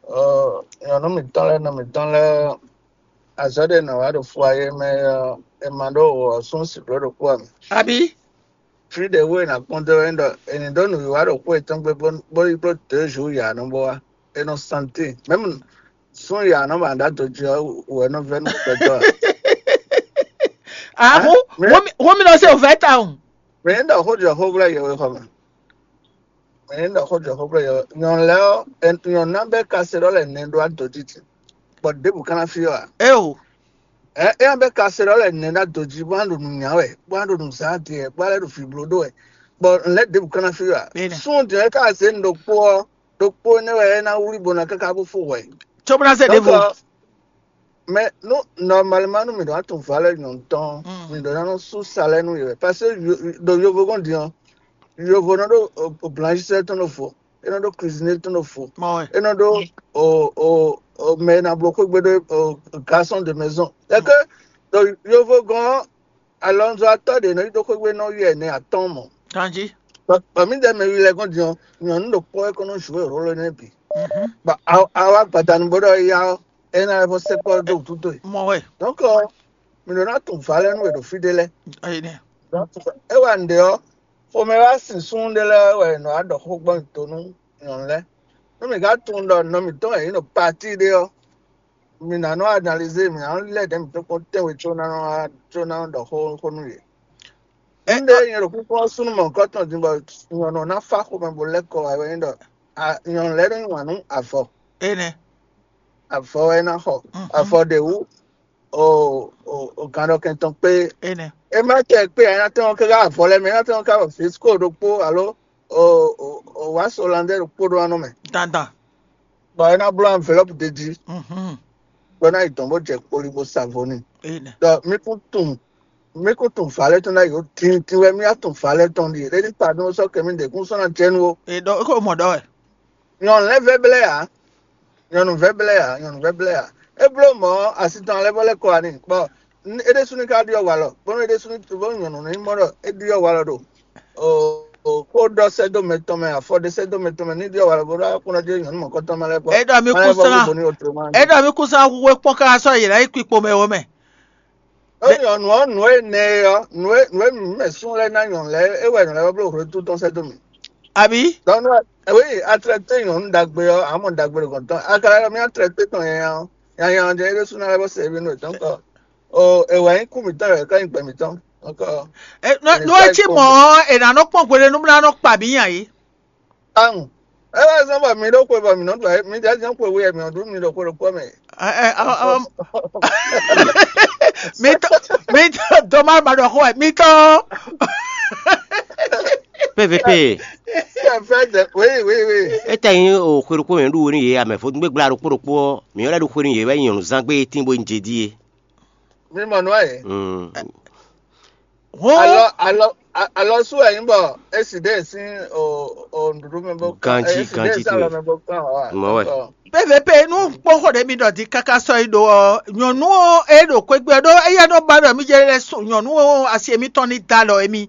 Ɔ nyɔnu mǐtɔn lɛ́ɛ nɔ mǐtɔn lɛ́ɛ azɔ̌ ɖé nɔ wá ɖo fua yé mɛ ɔ́, è ma ɖó wɔ sún si bló ɖokpó ǎ mɛ. Abi. Fí ɖě wú è nǎ kpɔ́n dó é ɖɔ è nǐ ɖó nǔwiwa ɖokpó yětɔn gbe bó bó yi bló deux jours ya nɔ bó wá. È nɔ santi mɛmu sún ya nɔ ba ɖá dó jí ɔ́ wɛ nɔ vɛ́ nú gbɛtɔ́ ǎ. Ah, Hɛn? Hu Mɛ- hu mi hu mi nɔ se o vɛ ta o. Mɛ é ɖɔ xó jɔ xó glɛ́ yɛwexɔ mɛ. Mɛ é ɖɔ xó jɔ xó glɛ́ yɛwexɔ nyɔ̌nu lɛ́ɛ ɔ́, nyɔ̌nu ná bɛ́ kaseɖɔ́lɛ nɛ ɖó adodídí, bɔ ɖěbǔ ka ná fí ɔ́ ǎ. Eo. Ɛ é ná bɛ́ kaseɖɔ́lɛ nɛ ɖó adojí, bó ná ɖo nǔ nya wɛ, bó ná ɖo nǔ zán adin wɛ, bó ná lɛ́ ɖo vǐ bló ɖó wɛ, bɔ lɛ̌ ɖěbǔ ka ná fí ɔ́ ǎ. Bene. Súnnu din ɔ́ é ka zě nǔ ɖokpó ɔ́, ɖokpó énɛ́ wɛ é ná wlí bó ná káká bó fó hwɛ. Tso bó ná zé Donc, ɖěvo. Ɔ́, mɛ nú normalement nú mǐ ɖó atún valeur nyɔ̌nu tɔn, Mm. Mǐ ɖó ná nɔ sú salaire nú yě wɛ. Parce que yo- ɖo yovogɔ́n din ɔ́, yovo nɔ ɖó o- o blanchisseur tɔn ɖo vo, é nɔ ɖó cuisinier tɔn ɖo vo, Mɔ wɛ. É nɔ ɖó o o o mɛ e ná bló xwégbe ɖó o garçon de maison. C'est que ɖo yovogɔ́n ɔ́, alɔnzɔ́ atɔ́ ɖě nɔ yi ɖó xwégbe nɔ yi ɛnɛ atɔ́ɔ́n mɔ̌. Kanjí. Bɔ bɔ mǐdɛɛ mɛ wi lɛ́ɛ gɔ́n din ɔ́, nyɔ̌nu ɖokpó wɛ kɔn nɔ jouer rôle énɛ́ bǐ. Mhm. Bɔ a- awa gbadanu bó ɖɔ ya ɔ́, é ná lɛ́ vɔ sɛkpɔ́ dó wútu towe. Mɔ wɛ. Donc, mi ɖó ná tun vǎ lɛ́ɛ nú we ɖo fí ɖé lɛ́ɛ. Ayi nɛ. Donc, é wa nǔɖé ɔ́, xomɛ wá sin súnnu ɖé lɛ́ɛ wɛ nɔ wá ɖɔ xó gbɔn to nú nyɔ̌nu lɛ́ɛ. Nú mi ka tunwun ɖɔ nɔ mǐtɔn wɛ yě nɔ parti ɖé ɔ́, mi ná nɔ analyser, mi ná nɔ lɛ́ ɖɛ̌ mǐtɔn kpɔ́n tɛ́nwe có ná nɔ wá có ná nɔ ɖɔ xó xó nú yě. Ɛ- Nǔɖé nyɛ ɖo kúkú ɔ́ súnnu mɔ̌hunkɔtɔn din bɔ nyɔ̌nu ɔ́ ná fá xomɛ bó lɛ́ kɔ wá wɛ nyí ɖɔ a- nyɔ̌nu lɛ́ɛ nɔ yí wǎn nú avɔ. Enɛ. Avɔ wɛ é ná xɔ. Mhm. Avɔ ɖě wú o o o gannɔkɛn tɔn kpé. Enɛ. É má tɛ kpé ǎ, é ná tɛ́n ɔ́ káká avɔ lɛ́ɛ mɛ, é ná tɛ́n ɔ́ ká wɔ Vesco ɖokpó alo o o o wǎ Solandɛ ɖokpó ɖó anɔ mɛ. Dandan. Bɔ é ná bló enveloppe ɖé jí. Mhm. Bɔ é ná yi dɔn bó jɛ kpoli bó sa vo n'i. Enɛ. Ɖɔ mí kún tunwun mí kún tunwun vǎ lɛ́ɛ tɔn ná yi ó tintin wɛ mí á tunwun vǎ lɛ́ɛ tɔn ɖíe. Ɖé ní pardon sɔ́ kɛ mí ɖě kún sɔ́ ná jɛ nú ó. E ɖɔ é ko mɔ ɖɔ wɛ. Nyɔ̌nu lɛ́ɛ vɛ́ blɛ́ ǎ. Nyɔ̌nu vɛ́ blɛ́ ǎ. Nyɔ̌nu vɛ́ blɛ́ ǎ. É bló mɔ̌ asi tɔn lɛ́ɛ bɔ lɛ́ kɔ wá n'i. Bɔ é ɖésú ní ká ɖyɔ́ walɔ, bónú é ɖésú ní bónú nyɔ̌nu ní mɔ ɖɔ é ɖyɔ́ walɔ ɖo o o xó ɖɔ sɛ́ dó mɛ tɔn mɛ, afɔ ɖé sɛ́ dó mɛ tɔn mɛ ní ɖyɔ́ walɔ bó ɖɔ akúnɔ jɛ nyɔ̌nu mɔ̌kɔtɔn mɛ lɛ́ɛ kpɔ́. É ɖɔ mí kún slán. É ɖɔ mí kún slán hu é kpɔ́n káká sɔ́ yě ná yi kpikpo mɛ ó mɛ. Ó nyɔ̌nu ɔ́, nǔ e nɛ e ɔ́, nǔ e nǔ e mǐ mɛ sún lɛ́ɛ ná nyɔ̌nu lɛ́ɛ é wɛ nyɔ̌nu lɛ́ɛ bló hwenu tɔn sɛ́ dó mì. Àbí? Donc, oui, a traité nyɔ̌nu ɖagbe ɔ́, a mɔ ɖagbe ɖo gɔ̌n tɔn. A ka lɛ́ ɖɔ mì a traité tɔn nyanya ɔ́, nyanya ɔ́ jɛ é ɖésú ná lɛ́ bó se émí nú è tɔn kɔ. O è wɛ nyí kú mǐtɔn wɛ ká nyí gbɛ mǐtɔn. Donc, Ɛ, nɔ- Ɛnɛ nɔ ká etí yi mɔ kpɔ́n. Ɔ́, è nǎ nɔ kpɔ́n gbeɖé nú mlá nɔ kpa mǐ nya yě. Aŋ. É wá zɔ́n bɔ mi ɖó xwe bɔ mi nɔ ɖu mi ɖe azɔn xwe wú mi nɔ ɖu mi ɖo xwe ɖokpó mɛ. Ɛ, ɛ, ɔ, ɔ, mi tɔ mi tɔ dɔmá ma ɖɔ xó wɛ mi tɔ. P V P. Fɛn fɛn dɛ oui oui oui. Étɛ́ nyí o xwe ɖokpó mɛ ɖu wo nú yě amɛ vodúngbégbla ɖokpó ɖokpó ɔ́, mǐ ɔ́ lɛ́ ɖo xwe nú yě wɛ nyí nyɔ̌nuzán gbé tín bó nyí jedí é. Mi mɔ nǔ ɛ. Mm. Hɔn. Alɔ alɔ a- alɔ sú wɛ nyí bɔ esi ɖe sín o o nɖuɖu mɛ bó kán. Ganji, esi ɖe ganji sín alɔ towe. Mɛ bó kán ɔ. Mɔ wɛ. P V P nú kpɔ́xɔ ɖé mi ɖɔ di káká sɔ́ yi ɖo ɔ́ nyɔ̌nu ɔ́ é ɖo kwégbé ɔ́ ɖó éyɛ́ nɔ ba ɖɔ mí jɛ lɛ sún nyɔ̌nu ɔ́ asi émítɔn ní da alɔ émí.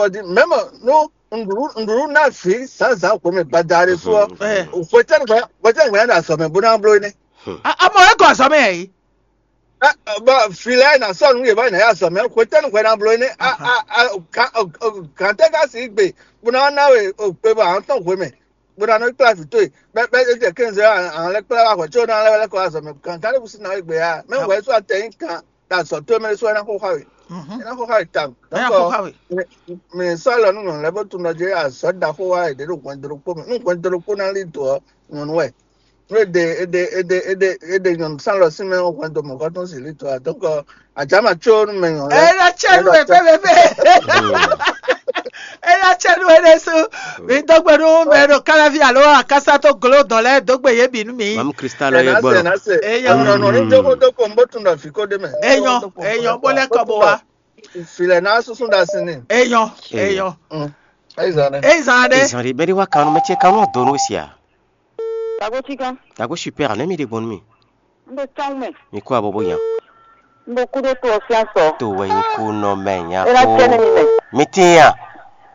kɔ dín. Mɛ̌ mɔ nú nǔɖuɖu nǔɖuɖu ná vǐ zǎnzǎn xwemɛ gbada ɖé sú ɔ́, hwetɛ́nu hwɛ hwetɛ́nu hwɛ ná ɖo azɔ̌ mɛ bó ná bló énɛ́? Amɔ é gɔ azɔ̌ mɛ yɛ yi. Bɔ vǐ lɛ́ɛ ná sɔ́ nǔ yě bɔ yě ná yi azɔ̌ mɛ, hwetɛ́nu hwɛ ná bló énɛ́? Gǎntɛ́ ka si gbe bó ná ná we kpe bɔ àwọn tɔn hwemɛ bó ná nɔ kplá vǐ towe bɛ́ bɛ́ é jɛ kɛ́nzɛ àwọn lɛ́ kplá wá hwɛ có ná lɛ́ lɛ́ kɔ azɔ̌ mɛ. Gǎntɛ́ ɖé bú sí ná we gbe ya mɛ hwɛ sú atɛ nyí kan ɖo azɔ̌ towe mɛ ɖésú é ná xó xá we. É ná xó xá we tawun. Nya xó xá we. Mi sɔ́ lɔ nú nyɔ̌nu lɛ́ɛ bó tunɔ jí azɔ̌ ɖaxó wá è ɖě ɖo hwɛndo ɖokpó mɛ. Nú hwɛndo ɖokpó ná lí dǒ ɔ́, nyɔ̌nu wɛ. Nú è ɖe è ɖe è ɖe è ɖe è ɖe nyɔ̌nu sán lɔ sín mɛ ɔ́, hwɛndo mɔ̌kɔtɔn sì lí dǒ ǎ. Donc ajǎ ma có nú mɛ nyɔ̌nu lɛ́ɛ. É ná cɛ nú wɛ pépépé. É ná cɛ nú wɛ ɖésú. Mi dó gbe nú mɛ ɖo káláví alo akásá tó glo dɔn lɛ́ɛ dó gbe yě bǐ nú mi. Mamu Kristal ɛ yɛ ná se gbɔdɔ. Ná se. Eyɔ. Nɔ nɔ ní jókòó dó ko n bó tun ɖɔ fǐ kó ɖé mɛ. Eyɔ, eyɔ, bó lɛ́ kɔ bó wá. Filɛ ná súsú ɖa sin ni. Eyɔ, eyɔ. Ayi zan ne. Eyi zan ɖe. Ezan ɖe bɛɖi wa kan mɛ ce kan nɔ donu sia. Dago cikan. Dago super ne mi ɖe gbɔn mi. N bɛ tɔn mɛ. Mi kó abo bo yan. N bɛ kudo to ɔsia sɔ. To wɛ nyi kú nɔ mɛ nya E na tiɛ ne mi mɛ. Mi tin ya.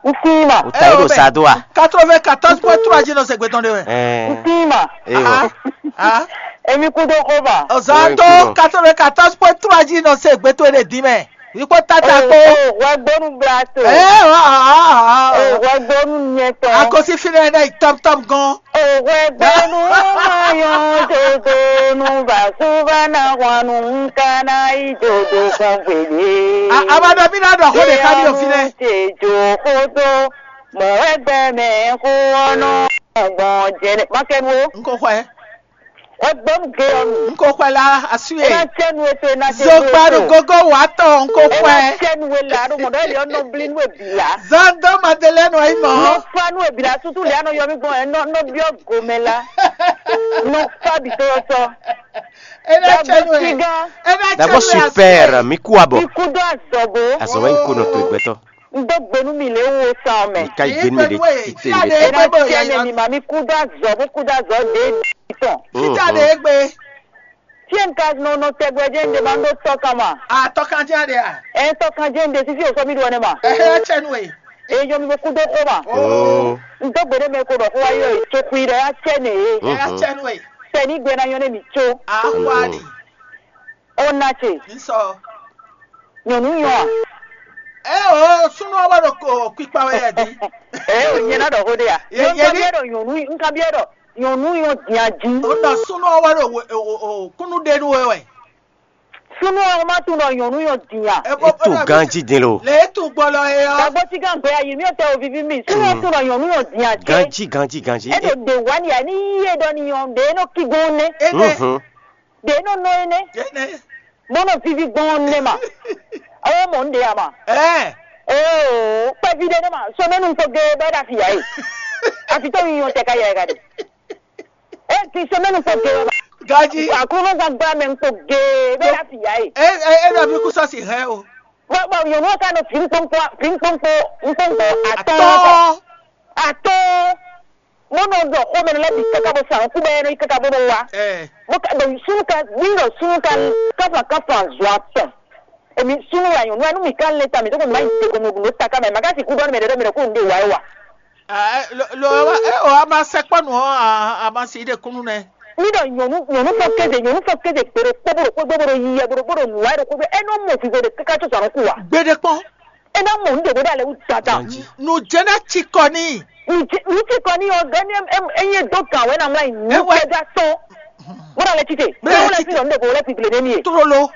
N si ma. O ta yi do sa do a. Quatre-vingt-quatorze point trois ji nɔ se gbɛtɔn de wɛ. N Ɛɛ. si ma. Ewa. Ah, Emi kudo ko ba. Ɔzɔn to quatre-vingt-quatorze point trois ji nɔ se gbɛtɔn de di mɛ. Ikpɔ tata kpo. Wɛ gbɔnu bla to. Ɛɛ, ah, ah, ah. Wɛ gbɔnu nyɛtɔ. Akosi fi nɛ nɛ tɔm tɔm gan. Wɛ gbɔnu ma yɔ dodo nu ba suba na wanu nka na yi dodo kɔn gbede. A- Abadɔ mi na dɔ ko de ka mi o fi nɛ. Te jo kodo mɔ wɛ gbɛ mɛ ko ɔnɔ gbɔn jɛnɛ makɛnu o. N ko xɔɛ. Wɛ gbɔnu ge ɔnu. N ko xɔɛ la asu E na ye. cɛ nu eto e na cɛ Zogbanu gogo wa tɔ n ko E na xɔɛ. cɛ nu e la ɖo mɔ ɖɔ yɛ ɔnɔ bli nu e bi la. Zando Madeleine wa yi mɔ. Nɔ fa nu e bi la sutu le anɔ yɔ mi gbɔn ɛ nɔ nɔ biɔ gomɛ la. Nɔ fa bi to sɔ. Ena cɛ nu ye. Sigan. Ena cɛ Dago nu ye. Super mi kú abo. Mi kudo azɔ bo. Azɔ wɛ nyi kó nɔ to gbɛtɔ. N do gbenu mi le wo san mɛ. Mi ka yi gbɛnu mi le tite Ade le. E na gbɛnu ye. cɛ ne mi ma mi kudo azɔ bo kudo azɔ de tɔn. Fita de egbe. Tiɛ n ka nɔ nɔ tɛgbɛ jɛ n de ma n do tɔ kama. Atɔ kan jɛ de a. Ɛ tɔ kan jɛ n de sisi o sɔ mi do ne ma. Ehe cɛ nu ye. E yɔ mi bo kudo ko ma. Oh. N do gbede mɛ ko dɔ ko wa yɔ e tso kui dɔ ya cɛ ne e. Ehe cɛ nu ye. Tɛ ni gbɛ na yɔ ne mi tso. Ahwani. O na ce. Nsɔ. Nyɔnu yɔ a. E o sunu wa do ko kpikpa wɛ yɛ di. Ɛ o nyɛ na dɔ ko de ya. Ye- ye N ka ni- biɛ dɔ nyɔnu n ka biɛ dɔ nyɔnu yɔ diya ji. O nɔ sunu wa do o o o kunu de nu wɛ. Sunu ɔn ma tun dɔ nyɔnu yɔ diya. E to ganji din lo. Le tu gbɔlɔ ye yɔ. Dagbo ti kan gbɛ ayi mi o tɛ o vivi mi. Sunu ɔn tun dɔ nyɔnu yɔ diya jɛ. Ganji ganji ganji. E do de wa ni ya ni yi e dɔ ni yɔn de e nɔ ki gbɔn ne. Ene. Mhm. De e nɔ nɔ ye ne. Ene. Mɔnɔ vivi gbɔn ne ma. Awo mɔ n de ya ma. Ɛ. Oo kpɛvi de ne ma. Sɔmɛnu kpo ge bɛ da fi ya ye. Afi to yi yɔn tɛ ka ya ye ka de. E ti sɔmɛnu kpo ge ma. Gaji. Akunuzan gba mɛ kpo ge bɛ da fi ya ye. E e e na bi kusɔ si hɛ o. Bɔn bɔn nyɔnu ka nɔ fi nkpɔnkpɔ fi nkpɔnkpɔ nkpɔnkpɔ atɔn Atɔ. atɔn. Mo nɔ dɔ xɔmɛ lɛ bi kaka bɔ san ku bɛ nɔ yi kaka bɔ nɔ wa. Ɛ. Mo ka dɔ sunu ka mi dɔ sunu ka kafa kafa zɔ atɔn. Emi sunu wa nyɔnu anu mi ka lɛ ta mi to ko ma yi te ko mo dun ta ka mɛ ma ka si ku dɔ mɛ dɔ mɛ dɔ ko n de wa wa. Ɛ lo lo wa e o a ma sɛ kpɔ nu a a ma si de kunu nɛ. Mi dɔ nyɔnu nyɔnu fɔ keze nyɔnu fɔ keze kpe ɖo kpɔ bolo kpɔ bolo yi yɛ bolo bolo nu wa ɖo ko bɛ ɛnɔ mɔ fi ko de kaka to sɔrɔ ku wa. Gbede kpɔn. Ɛnɔ mɔ n de ko da lɛ wu dada. Ganji. Nu jɛnɛ ti kɔ ni. Nti kɔ ni ɔ gani enye do kan wɛ na mla yi nu Ewe. Kɛja tɔn. Mo da lɛ tite. Bẹ́ẹ̀ Mo lɛ tite. fi dɔ n de ko lɛ fi gble ne mi ye. Trolo.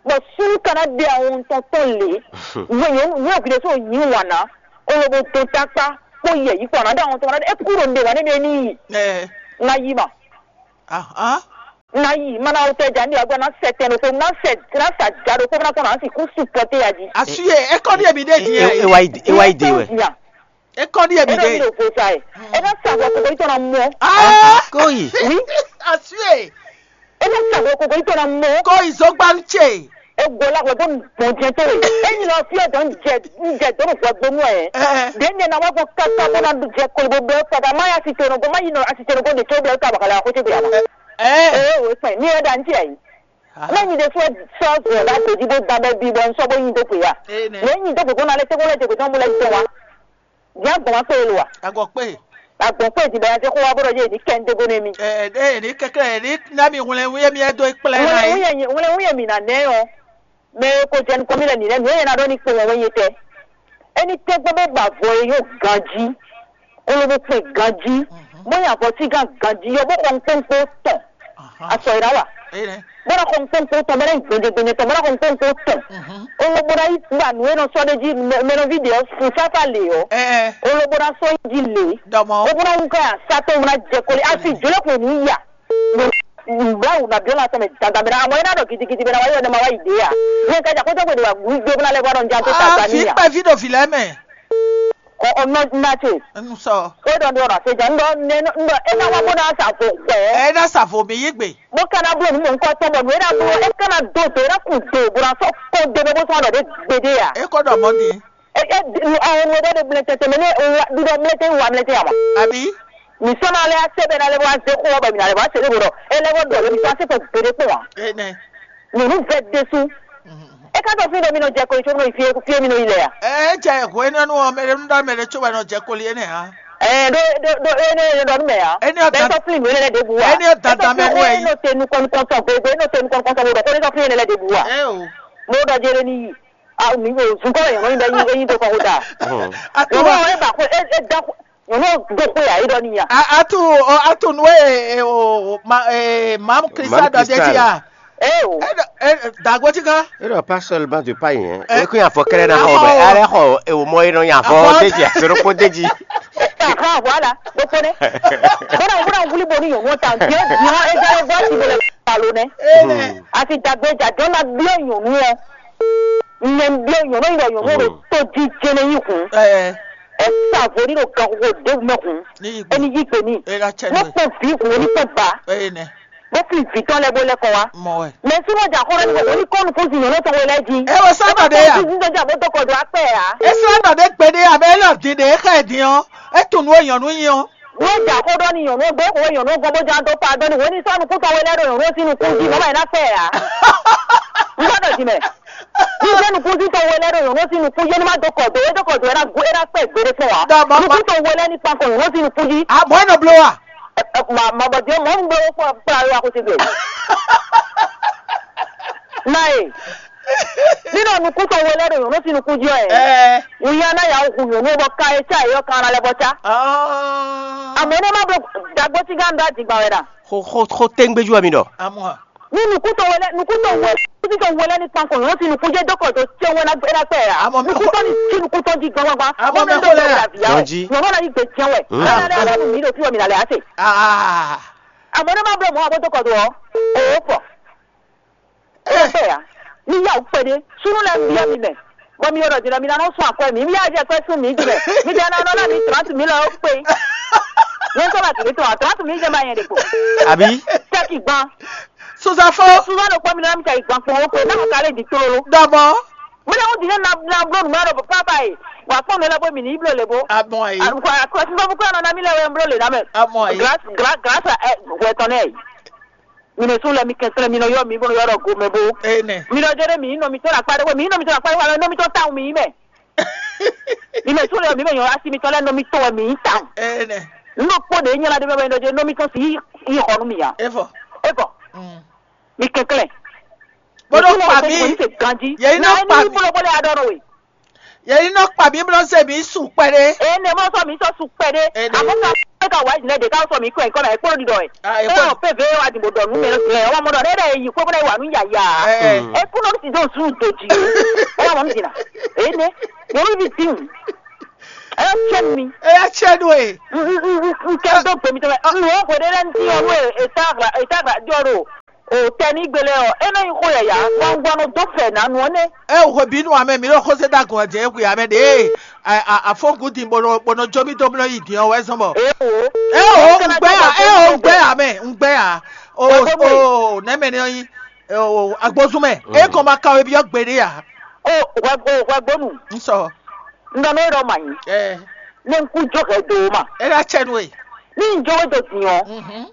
Bɔn sunu kana de awon tɔn tɔn le. Wo yo wo gbe so yin wana. O lo bo to takpa. Ko yɛ yi kɔna da awon tɔn na e kuro n de wa ne mi ni yi. Ɛ. Na yi ma. Ahán. Na yi ma na wotɛ ja ndi agba na sɛ tɛn ɖokpo na sɛ na sa ja ɖokpo na kɔnɔ asi ku supporter ya ji. Assuye, e kɔ ɖi ebi ɖe din e e wa yi e wa yi de wɛ. Ya. E kɔ ɖi ebi E ɖo mi ɖe. Ɖo vo sa ye. E na sa vɔ koko itɔ na mɔ. Ah, Koyi. Oui. Assuye. E na sa vɔ koko itɔ na mɔ. Koyi zogba ce. E gbɔ la gbɔ gbɔ jɛ to ye. E nyi lɔ fi ɔdɔ n jɛ n jɛ dɔ nɔ gbɔ gbɔ mɔ ye. Eh. De n jɛ na wa gbɔ kaka bɔ na jɛ koli bɔ bɛ kaka ma ya si to nɔ gbɔ ma yi nɔ asi to nɔ gbɔ de to bɛ ka bakala ko te bɛ ya ma. Eh. Ee o kpɛ ni e da n ti ayi. Ne nyi de sɔ sɔ zɔ da to di bo da bɛ bi bɔ n sɔ bo nyi do ko ya. Eh, ne. Ne nyi do ko na le te ko le te ko tɔn bo le tɔn wa. Jɛ gbɔn ma kpe lo wa. Agɔ kpe. Agbɔn kpe di bɛ ya se ko wa bo dɔ ye ni kɛ n de bo ne mi. Eh, eh, ni kɛkɛ ni na mi wlɛ wlɛ mi do kplɛ na Wlɛ yi. wlɛ mi wlɛ wlɛ mi na nɛ yɔ. Mɛ ko jɛ nukɔn mi lɛ ni lɛ mi yɛ na dɔ ni kpe wɛ wɛ ye tɛ. Eni tɛ gbɔ bɛ ba vɔ ye yɔ ganji. Kolobo kpe ganji. Mo ya vɔ ti gan ganji yɔ bo kɔn kpɔnkpɔ tɔn. Asɔ yi la wa. Eh, ne. Bɔra kɔn kpɔnkpɔ tɔn bɛrɛ gbɛdɛgbɛdɛ tɔn bɔra kɔn kpɔnkpɔ tɔn. Olo bɔra yi gba nu enɔ sɔ de ji mɛnɔvi de fun sata le yɔ. Eh, eh. Olo bɔra sɔ yi ji le. Dɔmɔ. O bɔra ŋu ka ya satɔ ŋu na jɛ kɔli asi jɔlɔ ko ni ya. Bla wu na biɔ la tɔmɛ dandan bɛrɛ amɔ ina dɔ gidigidi bɛrɛ wa yi ɔdɛ ma wa yi de ya. Yɛ ka ja kɔjɔ gbede wa gu gbɛ bla lɛ bɔ dɔn ja to Ah, fi Tanzania. kpɛ fi do fi lɛ mɛ. Ɔ ɔnɔ na ce. N sɔ. O dɔn do na se ja ndɔ ne ndɔ e na wa bo na sa fo gbɛ. Ɛ na sa vo mi yi gbe. Bó ká ná bló nǔ mɔ̌hunkɔtɔn bɔ nǔ e ná bló é ká ná dó dǒ é ná kun do bó ná sɔ́ kpɔ́n dó bó sɔ́ ɖɔ ɖé gbédé ǎ. E kɔ dɔ mɔ din. É é àwọn ọmọ ẹgbẹ́ gbélé tẹ́tẹ́ mẹ́ ní wá dídọ́ mlẹ́tẹ́ wá mlẹ́tẹ́ àwọn. Abi. Mìsọ́nà alẹ́ á sẹ́bẹ̀ náà lẹ́wọ́ á zẹ́ kó wá bẹ̀ mí náà lẹ́wọ́ á sẹ́lẹ̀ bọ̀dọ̀ ẹ lẹ́wọ́ dọ̀ lẹ́bi tó á sẹ́kọ̀ọ́ gbére pọ̀ wá. Ene. Nùnú bẹ́ẹ̀ dé sú. É ká tó fín domi nọ jẹ ko ìṣó nọ ìfie fie mi nọ ilẹ̀ yà. Ɛ jɛ hwe nɔ nu ɔmɛ ɖe nu ɖɔ mɛ ɖe tso wɛ nɔ jɛ koli ene ha. Ɛ ɖo ɖo ɖo ene ɖo ɖɔ nú mɛ yà. Ene ɔ Bẹ́ẹ̀ dan sọ fún ìwé lẹ́dẹ̀ bu wa. Ene ɔ dan dan mɛ nú ɛ yi. Ẹ ní o tẹnu kọ́ni kọ́ni sọ gbogbo ẹ ní o tẹnu kọ́ni kọ́ni sọ gbogbo kó ní sọ fún ìwé lẹ́dẹ̀ bu wa. Ɛ o. Mo dɔ jẹ ní yìí. A mi o zun kọ́ yẹn wọ́n bẹ yín yín tó kọ́ kó dà. Atu Wọ́n wa. wọ́n ẹ bà kó ẹ ẹ dá kó. Wọ́n náà gbé kó yà yín dọ́ níyà. A- Atu ɔ atu nu e e o ma e mam Krista Mam dɔ de Krista. ti a. Ẹ o. E dɔ e dagbo ti kan. Et non, pas seulement de paille, hein. Eh. Et quand il y a fort qu'elle est Ah, d'accord, oh. Mais elle est hors, et au moins, il y a Ah, fort oh. Déjà, c'est le côté dit. Aha, voilà. Gbogbo ne. Bọ́dà wúrà wúlí bo ní yòówó ta. Bí ó bí ó ẹ jẹ́ ló gbọ́ sí ìbẹ̀rẹ̀ pàlọ́ nẹ. Ene. Àti dàgbé ìjà jọ́ máa bí òyìnbó wọn. Ìyẹn bí òyìnbó náà yọ òyìnbó rẹ̀ tó di jẹnẹ yìí kún. Ɛ Ẹ sàvó nínú kan kókó déwù mẹ́kún. ni igbe. Ẹni yí pè mí. Ena tsɛ Wọ́n nu. Pọ̀ bí ìkùn onípọ̀ bá. Ene. Wọ́n fi ìfì tán lẹ́bọ̀ lẹ́kọ̀ọ́ wa. Mɔ ɛ. Mɛ súnmọ́ jà kọ́rọ́ ní wọ́n ní kọ́nù fún ìyànná tó wọlé jí. E wo sá nɔ de ya. Ní sọ́jà bó tó kọ̀dọ̀ apẹ́ yà. E sá nɔ de gbe de ya bɛ e lɔ din de e xɛ din ɔ. E tun nu e nyɔnu nyi ɔ. Wọ́n jà kó dọ́ ní ìyànná gbé kó ìyànná gbọ́ bó já dó pa dọ́ ní wọ́n ní sọ́nù kú tán wọlé ẹ̀rọ ìyànná sínú kú jí mọ́mọ́ ẹ̀ náà pẹ́ yà. N gbọ́dọ̀ jí mẹ́. Ní sẹ́nu kú sí tán wọlé ẹ̀rọ ìyànná sínú kú yé ní má tó kọ̀dọ̀ é tó kọ̀dọ̀ ẹ̀ náà gbé ẹ̀ náà pẹ́ gbére fún wa. Dá, màá Ní kú tán wọlé ní pankọ̀ ìyànná sínú kú jí. A mɔ e nɔ blo wa. Mabɔdze mɔ n gbɔ kpɔ kpla wa ko ti gbɛ. Na ye. Nínú nukúntɔ wo lɛ ɖo yòónù sí nukún jí ɔ yɛ. Ɛɛ. Wòye aná yà wò hu yòónù bɔ ka etsa yɔ kan lɛ bɔ tsa. Ɔɔ. Àmọ́ ní ma bɔ dàgbò tí gán dá dìgbà wẹ̀ dà. Xo xo xo téŋgbéjú wɛ mi ɖɔ. Amɔ. Ní nukúntɔ wo lɛ nukúntɔ wo lɛ nukúntɔ wo lɛ ní pankɔ yòónù sí nukún jẹ́ dókòtò tí wọ́n ná gbé ná gbé yà. Àmọ́ mi kò- Nukúntɔ ní tí nukúntɔ jí gbangba. Àmọ́ mi kò lè rà. Dɔn jí. Nyɔ̀mọ́ náà yí gbé jẹun ẹ̀. Mm. Náà ní alábùn mi lò fí wọ́n mi nà lè á sè. Aa. Àmọ́ ní ma bɔ mọ́ àwọn tó kọ̀ tó ọ́. Òwò pọ̀. Ó bẹ̀ yá. Ní yà ó pé dé. Súnú lẹ́ ń bí ọ́ mi mẹ́. Bọ́ mi yọ̀rọ̀ jìnnà mi lánàá sún àkọ́ mi. Mi yá jẹ́ pé sún mi jìnnà. Mi jẹ́ náà náà mi trente mille ó pé. Ní sọ́nà tìlí tó wà trente mille jẹ́ máa yẹn dè kò. Àbí? Tẹ́kì gbọ́n. Suzafo. Súnú ló pọ́ mi náà mi tẹ̀ ìgbọ̀n pọ̀ ó pé náà kálẹ̀ di tólo. Dɔbɔ. Mo lè wọ́n di ní na na bló nùmọ́ rẹ̀ pápá yìí. Wà pọ́n mi lẹ́bọ̀ mi ní ibló lè bó. Amɔ yi. Àkọsílẹ̀ fún kúrò náà mi lẹ́wọ̀ ń bló lè náà mẹ́. Amɔ yi. Grâce grâce grâce à ẹ wẹ̀tọ̀ náà yìí. Mi ní sún lẹ́mi kẹsílẹ̀ mi ní yọ mi bó yọ̀rọ̀ go mẹ́ bó. Ene. Mi lọ jẹ́ dé mi ní nọ mi tọ́ la kpá dé wẹ̀ mi ní nọ mi tọ́ la kpá dé wẹ̀ nọ mi tọ́ táwọn mi yìí mẹ́. Mi mẹ́ sún lẹ́wọ̀ mi mẹ́ yọ̀rọ̀ asi mi tọ́ lẹ́ nọ mi tọ́ wẹ̀ mi yìí táwọn. Ene. N ló kpó de nyɛ la de bɛ nɔ dze nɔ mi tɔn si yi xɔ nu mi ya. Efɔ. E bɔ Mm. mi kɛnklɛn. Bolo kpa mi. Se ganji. Yɛ yi nɔ kpa mi. Bolo bolo ya dɔ nɔ we. Yɛ yi nɔ kpa mi bolo se mi su kpɛ de. E ne mɔ sɔ mi sɔ su kpɛ de. E de. Amɔ ka e ka wa jinɛ de ka sɔ mi kɔ nkɔ na ekpɔ di dɔ ye. Ah, E ekpɔ. wa pe ve wa di bo dɔ nu mɛ lɛ wa mɔ dɔ ne de yi ko bɛ wa nu ya ya. Ɛ. Mm. E kun nɔ si dɔn su do ji. E wa mɔ mi jina. E ne. Yɔrɔ bi tin. Ɛ cɛ mi. Eya cɛ ɖo e. N kɛ dó gbe mi tɔn mɛ. N wɔ hwe ɖe lɛ n ti yɔ nú e e ta ɣla e ta ɣla jɔ ɖo o tɛ ní gbélé ɔ. E nɔ nyi xó yɛya. Gbɔngbɔn nɔ dó fɛ nanu ɔ nɛ. E o hwe bínú amɛ mi ɖo xóse da gɔn jɛ hwe amɛ ɖe. Afɔngu din bɔnɔ bɔnɔ jó mi dó mlɔ yi din ɔ wɛ zɔn bɔ. E o. E o ŋgbɛ ya e o ŋgbɛ ya mɛ ŋgbɛ ya. O o nɛmɛ ne yin. O agbozun mɛ. E kɔn ma kan we bi ɔ gbe ɖe ya. O hwɛ o hwɛ gbonu. N sɔ. N dɔ n'o ɖɔ ma nyi. Ɛ. Ne n kú jó hɛ do ma. E ɖo acɛ nu e. Ní n jó we do din ɔ. Mhm.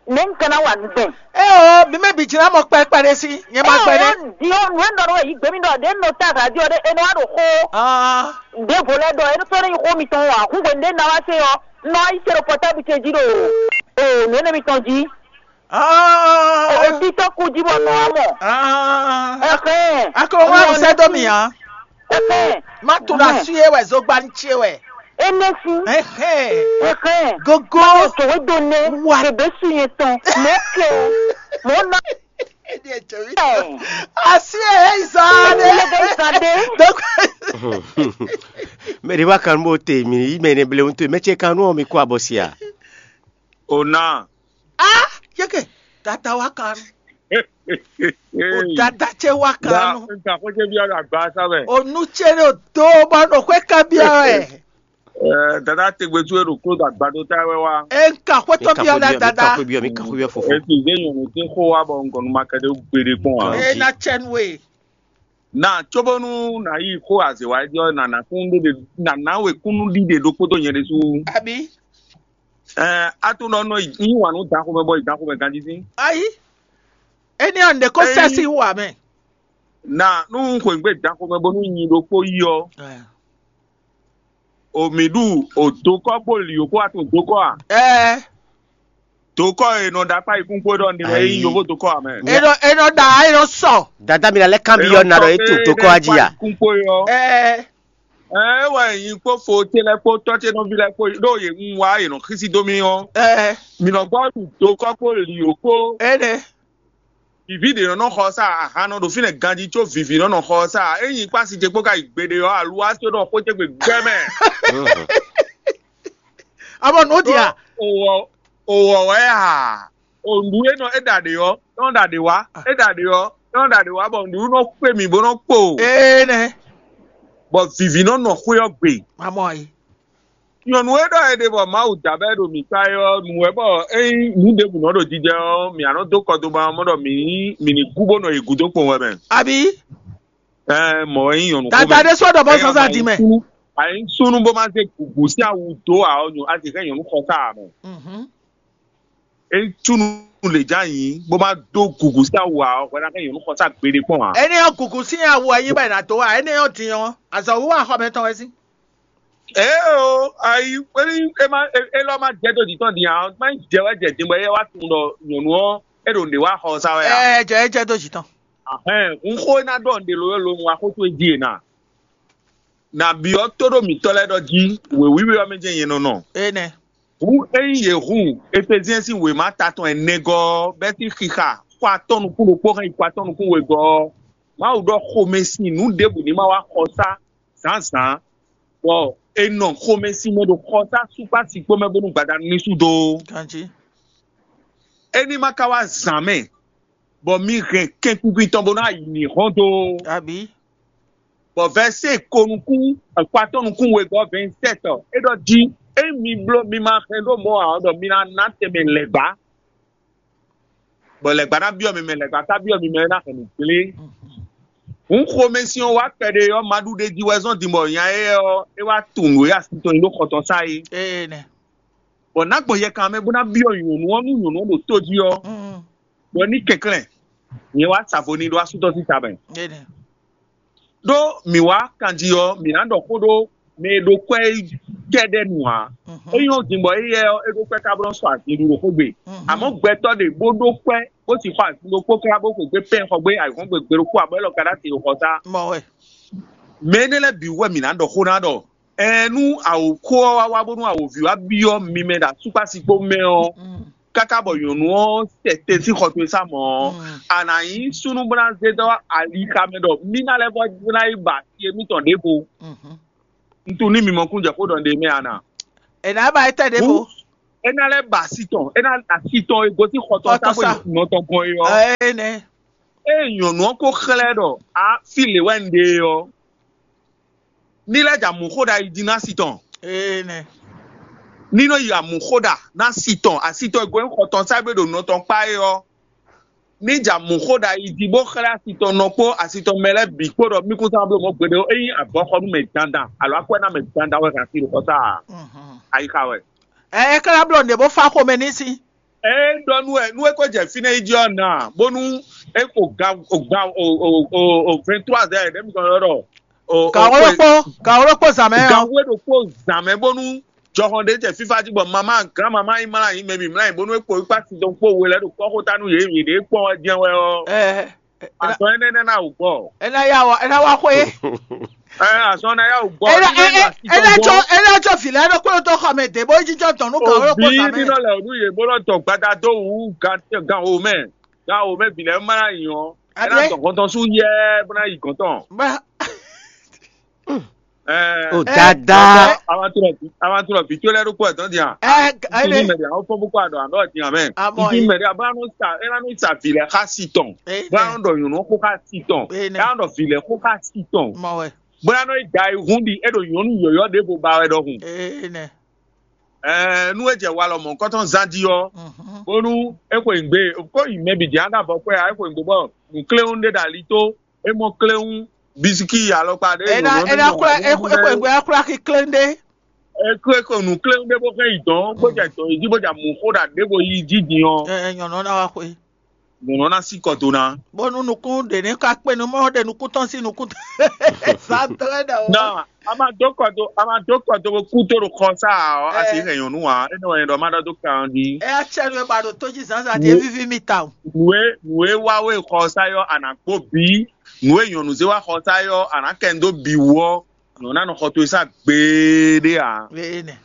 Ne n kana wa nu gbɛn. E o bí mɛ bǐ jlá mɔ kpɛkpɛ ɖé sí nyɛ ma gbɛ nɛ. Di ɔ nu e nɔ ɖo yi gbemi ɖɔ ɖe nɔ ta radio ɖe e nɔ wa ɖo xó. Ah. Ɖe vo lɛ ɖɔ e nɔ sɔ ne yi xó mitɔn wa hu hwe ɖe na wa se ɔ nɔ ayi se ɖo pɔtabu ce jí ɖo o nu ene mitɔn jí. Ah. O titɔ ku jí bɔ nɔ wa mɔ. Ah. Ɛhɛn. Akɔ wa sɛ dɔ mi ya. Ɛhɛn. Ma to la su ye wɛ zogban ce wɛ. Enesi. Ɛhɛn. Ɛhɛn. Gogo. Tòwé do nɛ. Wa. Bebe su yẹn tɔn. Mɛ kɛ. Mɔ na. Asi e zan de. Lebe zan de. Donc. Mɛ de wa kan b'o te mi yi mɛ ne ble ŋutu mɛ ce kan nɔ mi kó abɔ sia. O na. Ah, yeke. Tata wa kan. O tata ce wa kan. Nka ko ce bi ala gba sa mɛ. O nu ce ne o do bɔ nɔ xwe kan bia wɛ. Ɛɛ dada tegbe tu e ɖo klo da gbado ta wɛ wa. E nka xwetɔ bi ɔlɛ dada. Ka xwe bi ɔ mi ka xwe bi ɔ fofo. Esi ze nyɔnu te xo wa bɔ nkɔnu ma kɛɖe gbede kpɔn wa. E na cɛn we. Na tsobonu na yi xo azewa jɔ na na kún ɖe na na we kúnnu ɖiɖe ɖokpó to nyɛ ɖe su. Abi. Ɛɛ a tún nɔ nɔ yi wà nú dan xomɛ bɔ yi dan xomɛ ganjí sí. Ayi. Eni ɔ nde ko sɛsi wà mɛ. Na nú xweyǐgbe dan xomɛ bónú nyi ɖokpó yi ɔ. O mǐ ɖu o dokɔ kpó lǐ kó atún dokɔ a? Ɛɛ. Dokɔ e nɔ ɖo akpá yìí kún kpó ɖɔ ní wɛ yí yovo dokɔ a mɛ. E nɔ e nɔ ɖa e nɔ sɔ. Dada mi la lɛ kan bi yɔ na ɖɔ e to dokɔ a jí a. Kún kpó yɔ. Ɛɛ. Ɛɛ wɛ nyi kpó fo ce lɛ kpó tɔ́ ce nɔví lɛ kpó ɖó yě ń wá yě nɔ xísí dó mì ɔ́. Ɛɛ. Mǐ nɔ gbɔ ɖu dokɔ kpó lǐ kó. Ɛnɛ. Vivi ɖě nɔ nɔ xɔ sá ahan nɔ ɖo fínɛ́ ganjí có vivi nɔ nɔ xɔ sá ényí kpási ce kpó ka yi gbeɖe ɔ́ aluwa só ɖɔ xó ce gbe gbɛ mɛ. Abɔ nǔ dia. Owɔ owɔ wɛ a onɖu e nɔ e ɖa ɖe ɔ́ nɔ ɖa ɖe wá e ɖa ɖe ɔ́ nɔ ɖa ɖe wá bɔ nǔɖuɖu nɔ kpé mì bó nɔ kpo. Ee nɛ. Bɔ vivi nɔ nɔ xwé ɔ́ gbe. Mamɔ yi. Nyɔ̌nu e ɖɔ è ɖe bɔ Mawu da bɔ é ɖo mǐ kpá é ɔ́, nǔ wɛ bɔ ényí nǔ ɖěbǔ nɔ ɖo jijɛ ɔ́, mǐ nɔ dó kɔ do ma mɔ ɖɔ mǐ mǐ ní kú bó nɔ yi gǔdo kpɔn wɛ mɛ. Abǐ? Ɛɛ, mɔ̌ wɛ nyí nyɔ̌nu xomɛ. Dada ɖé sɔ́ ɖɔ bɔ zɔnzɔn di mɛ. Àyínsúnú bó má zé gǔgú sín awu dó ǎ ɔ́, a sì hɛn nyɔ̌nu xɔ ká ǎ mɛ. Ényí túnú lě ján nyǐ bó má dó gǔgú sín awu ǎ ɔ́, hwɛ ná hɛn nyɔ̌nu xɔ sá gbeɖé kpɔ́n ǎ. Énɛ́ ɔ́, gǔgú sín awu wɛ nyí bɔ è nǎ dó ǎ. Énɛ́ ɔ́ din ɔ́, azɔ̌wiwa xɔ mɛtɔn wɛ sín. Ee o, ayi é má élɔ́ má jɛ dó jǐ tɔn din ǎ, má nyí jɛ wɛ jɛ din bɔ é wá tunwun ɖɔ nyɔ̌nu ɔ́ é ɖo nǔɖé wá xɔ sá wɛ ǎ. Ɛ jɛ é jɛ dó jǐ tɔn. Ahɛn, un xó ná ɖɔ nǔɖé lo lo un wá xó towe jí e na. Nǎ byɔ́ tóɖó mǐtɔn lɛ́ɛ ɖɔ jí, wěwíwé ɔ́ mɛ jɛ́n nyɛ nɔ nɔ. Énɛ́. Hǔn ényí yě hun Efezyɛn sín wěma ta tɔn ɛnɛgɔ́ ɔ́, bɛ́ sín xixa xɔ atɔ́ nukún ɖokpó hɛn yi xɔ atɔ́ nukún wegɔ́ ɔ́, Mawu ɖɔ xomɛsin nǔ ɖěbǔ ní ma wá xɔsá zǎnzǎn, bɔ è nɔ xomɛsin mɛ ɖo xɔsá súkpá sikpó mɛ bónú gbadanu ní sú dó. Ganjí. É ní ma ka wá zǎn mɛ, bɔ mi hɛn kɛnkunkun tɔn bó ná yi mǐ hɔn dó. Abǐ. Bɔ vɛ̌sé ko nukún akpatɔ́ nukún wegɔ́ vɛ̌nsɛ́tɔ é ɖɔ jí: ényí mi bló mi ma hɛn ɖó mɔ̌ ǎ ɔ́, ɖɔ mi ná ná tɛnmɛ lɛ̌gbá, bɔ lɛ̌gbá ná byɔ́ mi mɛ, lɛ̌gbá ka byɔ́ mi mɛ é ná hɛn nǔ gblé. Hǔn xomɛsin ɔ́ wá kpɛɖé ɔ́, ma ɖu ɖe jí wɛ zɔ́n din bɔ nya éyɛ́ ɔ́, é wá tunwun nǔ e asi tɔn nyí ɖó xɔ tɔn sá é. Énɛ́. Bɔ nǎ gbɔn yɛkan mɛ bó ná byɔ́ nyɔ̌nu ɔ́ nú nyɔ̌nu ɔ́ ɖo tó jí ɔ́, bɔ ní kɛnklɛ́n, nyɛ wá sa vo n'i ɖó asú tɔn sín ta mɛ. Ɖó mǐ wá kanjí ɔ́, mǐ ná ɖɔ xó ɖó mɛ e ɖo kwɛ́ kɛ́ɖɛ́ nu ǎ. É nyɔ́ din bɔ éyɛ́ ɔ́, é ɖó kwɛ́ ká bó nɔ́ sɔ́ azin ɖu ɖo xó gbe. Amɔ̌ gbɛtɔ́ ɖě bó ɖó kwɛ́ bó sixɔ azin ɖokpó tlá bó xwe gbé pɛ́n xɔ gbé ayǐhɔ́ngbe gbe ɖokpó ǎ bɔ é lɔ ka ná te ɖo xɔ sá. Mɔ̌ wɛ. Mɛ énɛ́ lɛ́ɛ bǐ wɛ mǐ ná ɖɔ xó ná ɖɔ Ɛɛn, nú awǒxó ɔ́ wá wá bónú awǒvi wá byɔ́ mi mɛ ɖo asúkpásikpó mɛ ɔ́, káká bɔ nyɔ̌nu ɔ́ sɛ te sín xɔ towe sá mɔ̌ ɔ́, a nǎ nyí súnnu bó ná zé dɔ́ ali xa mɛ ɖɔ mì ná lɛ́ vɔ́ ná yi ba asi émítɔn ɖěvo. Un tunwun ní mi mɔ kún jɛ xó ɖɔ ɖe mɛ a na. È nǎ ba étɛ́ ɖěvo. É ná lɛ́ ba asi tɔn, é ná asi tɔn e gosín xɔ tɔn Xɔ tɔn tábó sa. Nɔ tɔn gbɔn é ɔ́. Ée nɛ. Ée nyɔ̌nu ɔ́ ko xlɛ́ ɖɔ a fí lě wɛ un ɖe é ɔ́, ní lɛ́ jɛ amǔxóɖa yi din ná asi tɔn. Ée nɛ. Ní nɔ yi amǔxóɖa ná asi tɔn, asi tɔn e gosín xɔ tɔn sá gbé ɖo nɔ tɔn kpá é ɔ́, ní jɛ amǔxóɖa yi din bó xlɛ́ asi tɔn nɔ kpó asi tɔn mɛ lɛ́ɛ bǐ kpó ɖɔ mí kún sá bló mɔ̌ gbeɖé ó. Ényí avɔ xɔ nú mɛ dandan alo akwɛ́ ná mɛ dandan wɛ hɛn asi ɖo xɔ sá a? Ayixa wɛ. Ɛ é ka ná bló nǔɖé bó fá xomɛ ní sí. Ɛ é ɖɔ nú wɛ nú é ko jɛ fínɛ́ yi jí ɔ́ na bónú é ko ga o ga o o o o vingt trois heures ɖé mi kɔn ɖɔ o Gǎn wó ɖokpó, gǎn wó ɖokpó zǎn mɛ ɔ́. Gǎn wó ɖokpó zǎn mɛ bónú jɔhɔn ɖé jɛ fífá jí bɔ mamá gán mamá yi mlá yi mɛ bǐ mlá yi bónú é kpo wípá sin dɔn kpó we lɛ́ ɖo kɔ́xota nú yě yě ɖě kpɔ́n wɛ jɛ́n wɛ ɔ́. Ɛ ɛ Azɔn énɛ́ nɛ́ ná wǔ gbɔ. É ná yá wɔ é ná wá xwé. Ɛ azɔn ná yá wǔ gbɔ. É ná é é é ná jɔ é ná jɔ vǐ lɛ́ɛ ɖokpó ɖo tó xɔ mɛ dě bó yi jijɔ dɔn nú gǎn wó ɖokpó Òbí zǎn mɛ. Nínú lɛ ònú yě bó lɔ tɔ gbada dó wú gan gan o mɛ gan o mɛ vǐ lɛ́ɛ má ná nyɔ. É ná Aɖé. Dɔn gɔntɔn sú yɛ bó ná yi gɔntɔn. Bá Ɛ O Ɛ dada. Awantu lɔ vǐ tó lɛ́ɛ ɖokpó ɛ dɔn dia. Ɛ Ní ɛ mɛ ɖe àwọn fɔn bó kó àdó àdó ɛ dia mɛ. Amɔ Ní yìí. Mɛ ɖe abó anɔ sa é anɔ sa vǐ lɛ xá si tɔn. Ɛ Bó anɔ ɖɔ nyɔ̌nu xó xá si tɔn. Ɛ É anɔ ɖɔ vǐ lɛ xó xá si tɔn. Mɔ wɛ. Bó anɔ yi da yi hún ɖi é ɖo nyɔ̌nu yɔ̌yɔ́ ɖěvo ba wɛ ɖɔhun. Ɛ nɛ. Ɛɛ nú é jɛ walɔ mɔ̌hunkɔtɔn zán jí ɔ́, Mhm. Bónú é xweyǐgbe kó yi mɛ bǐ jɛ ánda bɔ xwɛ ǎ, é xweyǐgbe bɔ nǔkléwún ɖé ɖo ali tó, é mɔ kléwún, bisikí alɔkpa ɖé. Ena ena kura e ko e ko e ko akura ki klende. É ko é ko nǔkléwún ɖé bó xɛ yi dɔn bó jɛ dɔn yi jí bó jɛ mǔ xó ɖa ɖěvo yi jí din ɔ́. Ɛ nyɔnɔ na wa xwe. Nyɔnɔ na sí kɔ do ná. Bónú nukún ɖe ní ka kpé nu mɔ ɖe nukún tɔn sí nukún tɔn. Sa tɔn ɛ ɖe o. Nɔ a ma dó kɔ do a ma dó kɔ do kú tó ɖo xɔ sá ɔ a sì hɛn nyɔnu wa é nɔ wɛ ɖɔ ma ɖɔ dó kan ɖi. Ɛ atsɛ nu ba ɖo tó jí zǎnzǎn ɖi é víví mi ta o. Nue nue wa we xɔ sá yɔ a nà kpó bí nue nyɔnu zé wa xɔ sá yɔ a nà kɛ ń dó bí wɔ nyɔnu anɔ xɔ to sá gbeɖé a. Ene.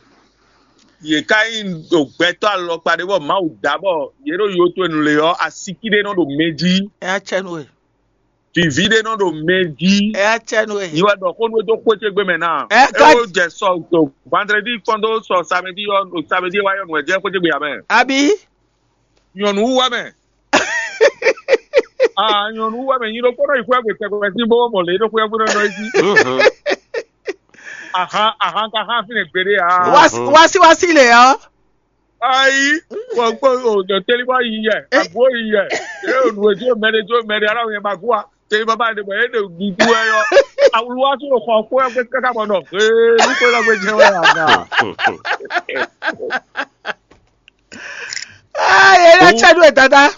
Yě ká nyí ɖo gbɛtɔ́ alɔkpa ɖé bɔ Mawu dá bɔ yě ɖo yo towe nu le ɔ́, asiki ɖé nɔ ɖo mɛ jí. Ɛ atsɛ nu e. Vivi ɖé nɔ ɖo mɛ jí. Ɛ atsɛ nu e. Nyi wɛ ɖɔ xó nú é dó xwé ce gbe mɛ ná. Ɛ É ka wo jɛ sɔ to vandredi kpɔn dó sɔ samedi ɔ samedi wa yɔ nù ɛ jɛ xwé ce gbe ya mɛ. Abi. Nyɔnu wú wɛ mɛ. Ah, nyɔnu wɛ mɛ nyi ɖokpó nɔ yi xwé gbe tɛgbɛ sí bó mɔ lě ɖokpó yɛ gbóná nɔ yi jí. Ahan ahan ka hã fínɛ gbeɖé ah. Wasi wasi le ɔ. Ayi, kpɔkpɔ o dɔ teli bɔ yi yɛ, agbo yi yɛ. E o nu edzo mɛ de dzo mɛ de ala yɛ ma gua. Teli baba de bɔ e de dudu wɛ yɔ. Awulu wa so xɔ xo yɛ kaka bɔ nɔ. Ee, nu ko la gbe jɛ wɛ aga. Ah, yɛ la tsa do dada.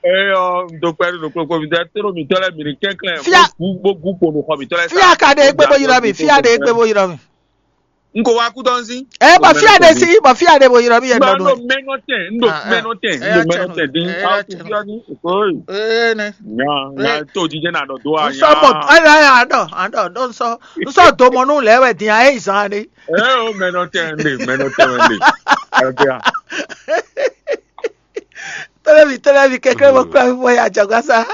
Eyɔ ŋdɔkpɛ ɖo kpokpo mi dɛ toro mi tɔlɛ mi ni kɛnklɛn. Fia. Bo gu kpo nu xɔ mi tɔlɛ. Fia ka de egbe bo yirɔ mi, fia de egbe bo yirɔ mi. N ko wa kú tɔn si. Ɛ bɔ fia de si, bɔ fia de bo yirɔ mi yɛ N dɔ do. N mɛnɔ tɛn, n do mɛnɔ tɛn, n do mɛnɔ tɛn din. Aw tu fia ni. Oyi. Ee ne. Nya nya to jijɛ na dɔ do a nya. Nsɔ mɔ, ɛ na ya dɔ, adɔ dɔ nsɔ, nsɔ do mɔ nu lɛ wɛ din a e zan de. Ɛ o mɛnɔ tɛn de, mɛnɔ tɛn de. Ɛ bia. Tolómi tolómi kékeré mo kúrò fífọ́ yà jọ̀gbọ́n sá.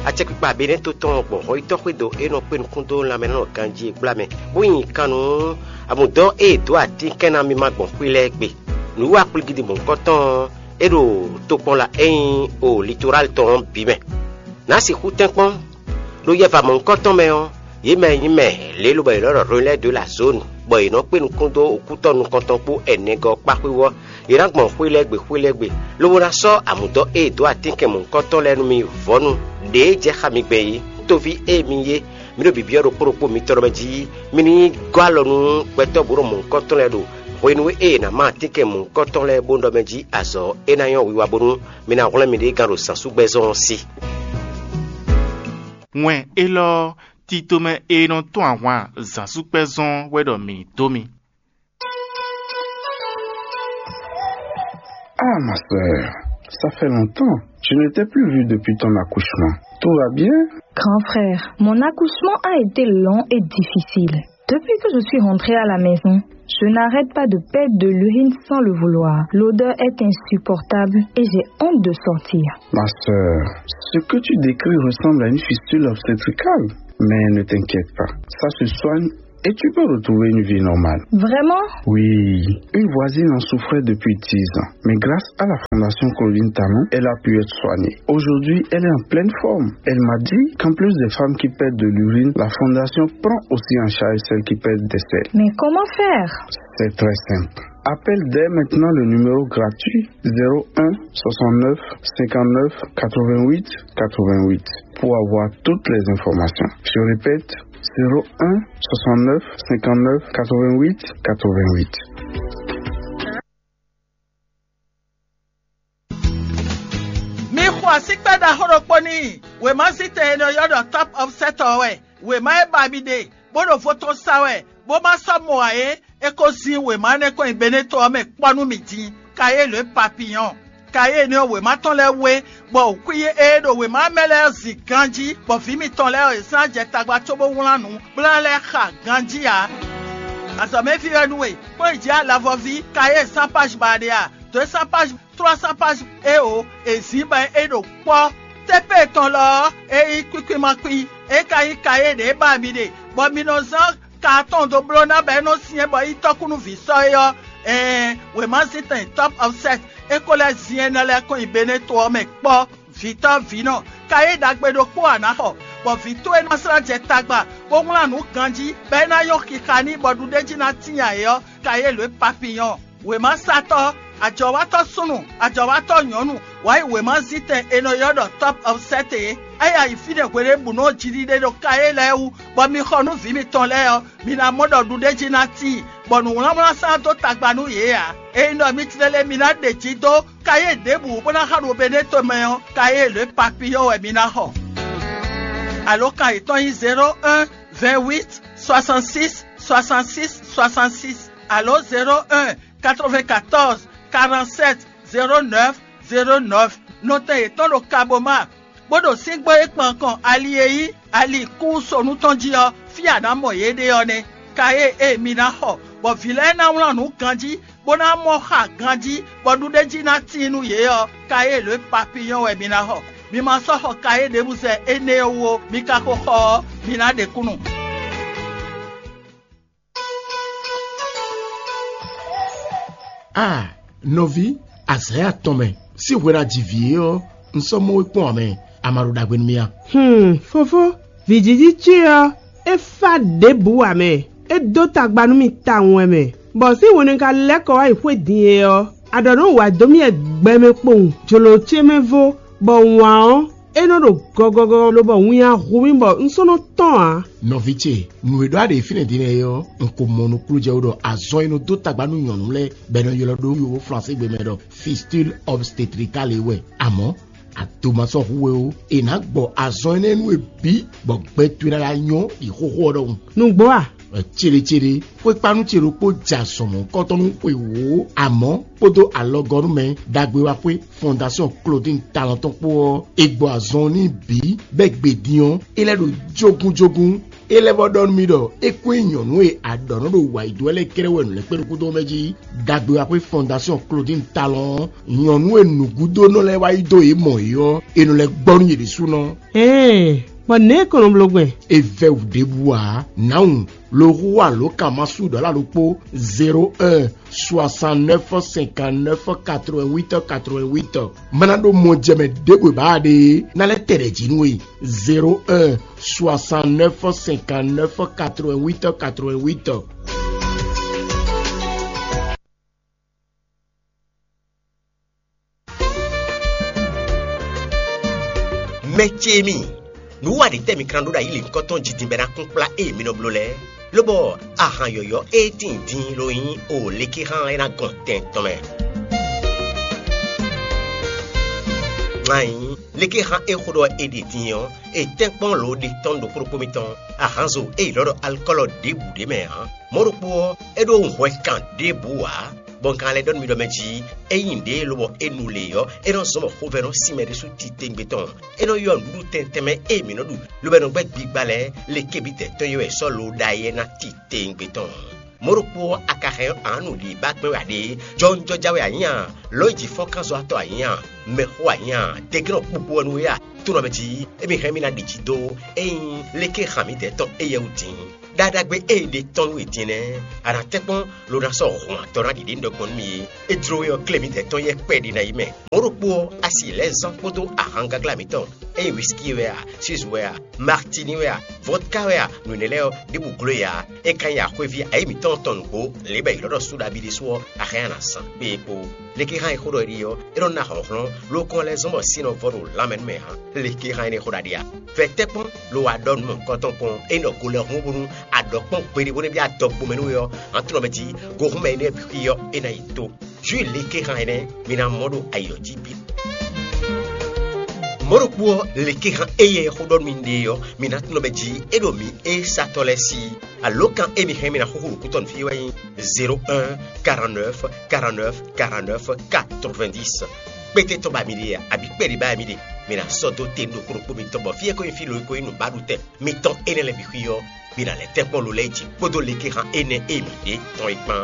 Acɛkpikpa Benɛ́to tɔn gbɔn hɔyítɔ́ xwédo e nɔ kpé nukún dó lanmɛ nɔ ganjí e gbla mɛ, bó nyi kan nú amǔdɔn e è dǒ atínkɛn ná mímá gbɔn xwé lɛ́ɛ gbe. Nǔwiwa kplígídi mɔ̌hunkɔtɔn e ɖo tokpɔnla e nyí o litorali tɔn ɔ́ bǐ mɛ. Nǎ sixú tɛ́nkpɔ́n ɖo yɛva mɔ̌hunkɔtɔn mɛ ɔ́, yě mɛ e nyí mɛ lě lobɔ è nɔ ɖɔ Rwelɛ́ɛ dó la zǒnu, bɔ è nɔ kpé nukún dó okútɔ́ nukɔntɔn kpó ɛnɛgɔ́ kpá xwé ɔ́, yě ná gbɔn xwé lɛ́ɛ gbe xwé lɛ́ɛ gbe, lobo ná sɔ́ amǔdɔ́ e è dǒ atínkɛn mɔ̌hunkɔtɔn lɛ́ɛ nú mì vɔ̌nu ɖě jɛ xá mi gbɛn é. Tóví e mi nyí é, mi ɖo byɔ̌byɔ́ ɖokpó ɖokpó mitɔn lɔ mɛ jí, mi ní nyí gɔ́ alɔ nú gbɛtɔ́ bǔ ɖo mɔ̌hunkɔtɔn lɛ́ɛ ɖo hwenu e è nǎ má atínkɛn mɔ̌hunkɔtɔn lɛ́ɛ bó ɖɔ mɛ jí azɔ̌ é ná nyɔ́ wiwa bónú mi ná hwlɛ́n miɖée gán ɖo zǎnsúgbɛ́zɔn ɔ́ sí. Wɛn élɔ́ ɔ́, titomɛ e nɔ tɔ́n ahwan zǎnsúgbɛ́zɔn wɛ ɖɔ mǐ dó mi. Ah, ma sœur, ça fait longtemps. Je ne t'ai plus vu depuis ton accouchement. Tout va bien? Grand frère, mon accouchement a été long et difficile. Depuis que je suis rentrée à la maison, je n'arrête pas de perdre de l'urine sans le vouloir. L'odeur est insupportable et j'ai honte de sortir. Ma sœur, ce que tu décris ressemble à une fistule obstétricale. Mais ne t'inquiète pas, ça se soigne et tu peux retrouver une vie normale. Vraiment ? Oui, une voisine en souffrait depuis dix ans. Mais grâce à la Fondation Claudine Talon, elle a pu être soignée. Aujourd'hui, elle est en pleine forme. Elle m'a dit qu'en plus des femmes qui perdent de l'urine, la Fondation prend aussi en charge celles qui perdent des selles. Mais comment faire ? C'est très simple. Appelle dès maintenant le numéro gratuit zéro un soixante-neuf cinquante-neuf quatre-vingt-huit quatre-vingt-huit pour avoir toutes les informations. Je répète, zéro un soixante-neuf cinquante-neuf quatre-vingt-huit quatre-vingt-huit. Mi xo asíkpɛ́ ɖaxó ɖokpó n'i. Wěmazítɛn e nɔ ylɔ́ ɖɔ Top Offset ɔ́ wɛ. Wěma e ba mi ɖe, bó ɖo vo tɔn sa wɛ, bó ma sɔ́ mɔ ǎ é, é ko zin wěma énɛ́ kɔn nyi Beneto ɔ́ mɛ kpɔ́ nú mì din. Kayélu e Papiyɔn. Kayélu ɔ́, wěma tɔn lɛ́ɛ wé, bɔ xwí e ɖo wěma mɛ lɛ́ɛ ɔ́ zin ganjí, bɔ vǐ mitɔn lɛ́ɛ ɔ́, è zán jɛ tagba cóbó wlán nǔ kplá lɛ́ɛ xa ganjí ǎ. Azɔ̌mɛví wɛ nú we, kplɔ́n yi jǐ alavɔví, kayé sán páj ba ɖe a? Dǒ e sán páj, tlɔ́ sán páj éo, è zǐn bɔ é ɖo kpɔ́. Tépée tɔn lɔ ɔ́, é nyí kwíkwímakpí, é ka nyí kayé ɖě ba mi ɖe, bɔ mi nɔ zán ka atɔn dó bló ná bɔ é nɔ syɛ́n bɔ é nyí tɔ́kúnúví sɔ́ é ɔ́, ɛɛn, wěmazíntɛn Top Offset é ko lɛ́ zin énɛ́ lɛ́ɛ kɔn nyi Beneto ɔ́ mɛ kpɔ́. Vǐtɔ́ vǐnɔ, ka e ɖagbe ɖokpó ǎ ná xɔ, bɔ vǐ towe ná slá jɛ tagba, bó wlán nǔ ganjí, bɔ é ná nyɔ́ xixa n'i, bɔ ɖuɖéjí ná tíin ayǐ ɔ́, ka e lǒ e Papiyɔn. Wěmasatɔ́, ajɔ̌watɔ́ súnnu, ajɔ̌watɔ́ nyɔ̌nu, wǎ yi wěmazítɛn è nɔ ylɔ́ ɖɔ Top Offset é. É yi ayǐ fínɛ́ hweɖěbǔnu ɔ́ jiɖiɖe ɖo ka e lɛ́ɛ wú, bɔ mi xɔ nú vǐ mitɔn lɛ́ɛ ɔ́, mi ná mɔ ɖɔ ɖuɖéjí ná tíin, bɔ nǔwlánwlán sán dó tagba nú yě ǎ. Ényí ɖɔ mi tlɛ lɛ́ɛ mi ná ɖe jǐ dó kayé ɖěbǔ bó ná xa ɖo Beneto mɛ ɔ́, kayé lě Papiyɔn wɛ mi ná xɔ. Alǒkan yětɔn nyí zéro un vingt huit soixante six soixante six soixante six alo zéro un quatre vingt quatorze quarante sept zéro neuf zéro neuf. Nɔtɛn yětɔn ɖo Kaboma, bó ɖo síngbó e kpan kɔn ali e nyí ali kúsonu tɔn jí ɔ́, fí a nǎ mɔ yě ɖe ɔ́ nɛ́. Ka e e mi ná xɔ, bɔ vǐ lɛ́ɛ ná wlán nǔ ganjí, bó ná mɔ xa ganjí, bɔ ɖuɖéjí ná tíin nú yě ɔ́, ka e lě Papiyɔn wɛ mi ná xɔ. Mi ma sɔ́ xɔ ka e ɖěbǔ zɛ énɛ́ ɔ́ wú ó, mi ka ko xɔ ɔ́, mi ná ɖe kúnnu. Ah, nɔví, azǎn atɔn mɛ, sín hwenu a ji vǐ é ɔ́, un sɔ́ mɔ we kpɔ́n ǎ mɛ, a ma ɖo ɖagbe nú mì a? Hmm, fofó, vǐjiji ce ɔ́, é fá ɖěbǔ ǎ mɛ, é dó tagba nú mì tawun wɛ mɛ, bɔ sín hwenu e ka lɛ́ kɔ wá yi xwé din é ɔ́, a ɖɔ nǔ wa dó mì wɛ gbɛmɛ kpowun, jlǒ ce mɛ vo, bɔ wǎn ɔ́, é nɔ ɖo gɔgɔgɔ lobɔ winnya hu mì bɔ un sɔ́ nɔ tɔ́n ǎ. Nɔví ce, nǔ e ɖɔ a ɖe fínɛ́ din lɛ́ɛ é ɔ́, un ko mɔ nukúnnú jɛ wú ɖɔ azɔn e nɔ dó tagba nú nyɔ̌nu lɛ́ɛ bɔ è nɔ ylɔ́ ɖó wiwo Flásígbe mɛ ɖɔ fistule obstétricale é wɛ. Amɔ̌, a do ma sɔ́ hu we ó. È nǎ gbɔ azɔn énɛ́ nú we bǐ, bɔ gbɛ towe ná lɛ́ nyɔ́ ɖi xóxó ɔ́ ɖɔhun. Nǔgbó a? Céɖécéɖé, xwékpánú ce ɖokpó jɛ azɔn mɔ̌hunkɔtɔn nú xwe wǒ, amɔ̌ kpódó alɔgɔ́númɛ ɖagbe wá xwé Fondation Claudine Talɔn tɔn kpó ɔ́, è gbɔ azɔn n'i bǐ, bɔ é gbe din ɔ́, é lɛ́ ɖo jógúnjógún. É lɛ́ vɔ ɖɔ nú mì ɖɔ é kún nyí nyɔ̌nu e a ɖɔ nɔ ɖo wǎ yi dó wɛ lɛ́ɛ kɛ́ɖɛ́ wɛ nǔ lɛ́ɛ kpé ɖokúdó mɛ jí. Ɖagbe wá xwé Fondation Claudine Talɔn ɔ́, nyɔ̌nu e nǔgúdónɔ lɛ́ɛ wá yi dó yě mɔ yě ɔ́, è nɔ lɛ́ gbɔ nú yě ɖésúnɔ. Ɛɛ, bɔ nɛ̌ kɔn nɔ bló gbɛn? É vɛ́ wǔ ɖěbǔ ǎ. Nǎwun, lo hu alǒkanmasu ɖɔ̌la ɖokpó zéro un soixante-neuf cinquante-neuf quatre-vingt-huit quatre-vingt-huit. Mana ɖo mɔ jɛ mɛ ɖěbǔ e ba ɖe é, ná lɛ́ tɛ ɖɛ jǐ nú we. Zéro un soixante-neuf cinquante-neuf quatre-vingt-huit quatre-vingt-huit. Mɛ ce mi, nǔ wa ɖě tɛ́ mi kan ɖó ɖo ayi lěhunkɔtɔn jí din bɔ é ná kún kplá ée mi nɔ bló lɛ́ɛ? Lobɔ ahan yɔ̌yɔ́ e tíin din lo nyí o lékexán e ná gɔn tɛn tɔn mɛ. Anyi, lékexán e xo ɖɔ è ɖe din ɔ́, è tɛ́nkpɔ́n lǒ ɖe tɔn ɖokpó ɖokpó mitɔn, ahanzo e è ylɔ́ ɖɔ alikɔ́lɔ ɖěbǔ ɖé mɛ ǎ. Mɔ̌ ɖokpó ɔ́, é ɖó hwɛ kan ɖěbǔ ǎ, bɔ un ka lɛ́ ɖɔ nú mi ɖɔ mɛ jí, ényí nǔɖé lobɔ é nu lě ɔ́, é nɔ zɔ́n bɔ xovɛ́ nɔ sin mɛ ɖésú titewungbe tɔn. É nɔ ylɔ́ nǔɖuɖu tɛntɛn mɛ e mǐ nɔ ɖu, lobo é nɔ gbɛ́ gbigba lɛ́ɛ, le kebítɛ tɔn e wɛ è sɔ́ lo ɖ'ayǐ wɛ ná titewungbe tɔn. Mɔ̌ ɖokpó ɔ́, a ka hɛn ɔ́, a nǎ nu lǐbá gbɛ́n wɛ a ɖe? Jɔwunjɔja wɛ a nyǐ a? Lɔ̌nyijǐ-fɔ́nkánzɔ́watɔ́ a nyǐ a? Mɛxó a nyí a? Degɛ́nɔ kpukpu wɛ nú we a? Tónɔ mɛ jí émí hɛn mì ná ɖi jí dó ényí léké han mǐdɛɛ tɔn éyɛ́ wú din. Ɖaɖagbe e è ɖe tɔn nú we din nɛ́, a nǎ tɛ́nkpɔ́n lo ná sɔ́ hɔn atɔ́ ná ɖiɖe nú ɖɔ gbɔn nú mì é. É jló we ɔ́, klé mǐdɛɛ tɔn yɛ́ kpɛɖé ná yi mɛ. Mɔ̌ ɖokpó ɔ́, a si lɛ̌ zán kpódó ahangaglá mǐtɔn, ényí wisiki wɛ a, suze wɛ a, martini wɛ a, vodka wɛ a, nǔ énɛ́ lɛ́ɛ ɔ́, ɖěbǔ gló e ǎ. É ka nyí axwéví ayǐ mǐtɔn tɔn nǔgbó, lě bɔ è ylɔ́ ɖɔ sóɖabi ɖésú ɔ́, a hɛn a nǎ zán. Kpé e kpo. Léké hán e xó ɖɔ é ɖi ɔ́, é nɔ ná hlɔ̌nhlɔ́n, ló kɔn lɛ́ zɔ́n bɔ sin nɔ vɔ ɖo lanmɛ nú mɛ hán. Léké hán énɛ́ xó ɖaɖe a? Vɛ tɛ́nkpɔ́n lo wa ɖɔ nú mɔ̌hunkɔtɔn kpɔn, é nɔ go lɛ́ hún bónú a ɖɔ kpɔ́n gbeɖé bó nɔ́ byɔ́ adɔgbo mɛ nú we ɔ́, hán tlɔ́ mɛ jí gohúnmɛ énɛ́ bǐ xwí ɔ́, é ná yi tó. Jǔ léké hán énɛ́, mi ná mɔ ɖo ayǐ ɔ́ jí bǐ. Mɔ̌ ɖokpó ɔ́, léké hán éyɛ́ e xó ɖɔ nú mi ɖe ɔ́, mi ná tunɔ mɛ jí é ɖo mǐ e satɔ́ lɛ́ɛ sí. Alǒkan e mi hɛn mi ná xúxú ɖo kútɔ́ nú fí wɛ nyí zéro un, quarante-neuf, quarante-neuf, quarante-neuf, quatre-vingt-dix. Kpéte tɔn ba mi ɖe a, abǐ kpɛɖé ba mi ɖe? Mi ná sɔ́ dó te nú ɖokpó ɖokpó mitɔn bɔ fí e ko nyí fí lo e ko nyí nǔbaɖutɛn mitɔn énɛ́ lɛ́ɛ bǐ xwí ɔ́, mi ná lɛ́ tɛ́nkpɔ́n lo lɛ́ɛ jí kpódó léké hán énɛ́ e mi ɖe tɔn é kpán.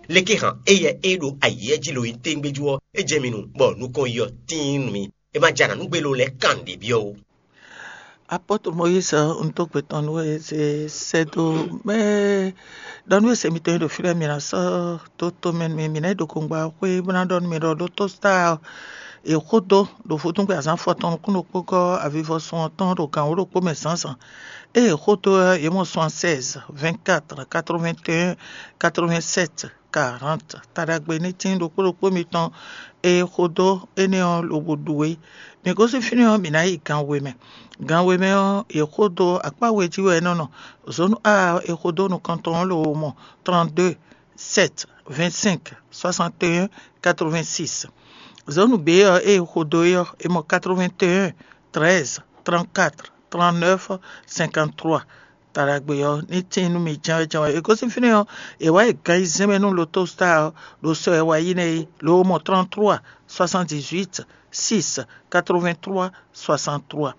Léké hán éyɛ́ e ɖo ayǐ jí lo nyí téŋgbéjú ɔ́, é jɛ mi nu, bɔ nukɔn yi ɔ́ tíin nú mi. É ma jɛ anǎ nú gbé lo lɛ́ɛ kan nǔɖé byɔ́ ó. Apɔ́tɔ Mɔyízi ɔ́, un dó gbe tɔn nú we, zé sɛ́ dó mɛ ɖɔ nú we se mitɔn e ɖo fí lɛ́ɛ, mi ná sɔ́ dó tomɛ nú mì, mǐ ná yi ɖo kɔngba xwé bó ná ɖɔ nú mi ɖɔ ɖótó Star ɔ́, è xó dó ɖo vodúngbe azǎn afɔtɔn nukún ɖokpó gɔ́ avivɔsun ɔ́ tɔn ɖo gan wǒ ɖokpó mɛ zǎnzǎn. Ée è xó dó ɔ́, yě mɔ soixante-seize, vingt-quatre, quatre-vingt-un, quatre-vingt-sept, quarante. Taɖagbe ní tín ɖokpó ɖokpó mitɔn e xo dó énɛ́ ɔ́ lobo ɖu é. Mǐ gosín fínɛ́ ɔ́, mǐ ná yi gan we mɛ. Gan we mɛ ɔ́, è xo dó akpá we jí wɛ é nɔ nɔ. Zǒnu A ɔ́, è xo dó nukɔntɔn ɔ́ lobo mɔ trente-deux, sept, vingt-cinq, soixante et un, quatre-vingt-six. Zǒnu B ɔ́, ée è xo dó é ɔ́, è mɔ quatre-vingt-un, treize, trente-quatre, trente-neuf, cinquante-trois. Taɖagbe ɔ́ ní tíin nú mi jɛ́nwɛ́ jɛ́nwɛ́. È gosín fínɛ́ ɔ́, è wǎ yi gan ayizɛ́n mɛ nú Lotostar ɔ́ ɖo sɔ e wá yi nɛ́ é, lǒ mɔ trente-trois, soixante-dix-huit, six, quatre-vingt-trois, soixante-trois.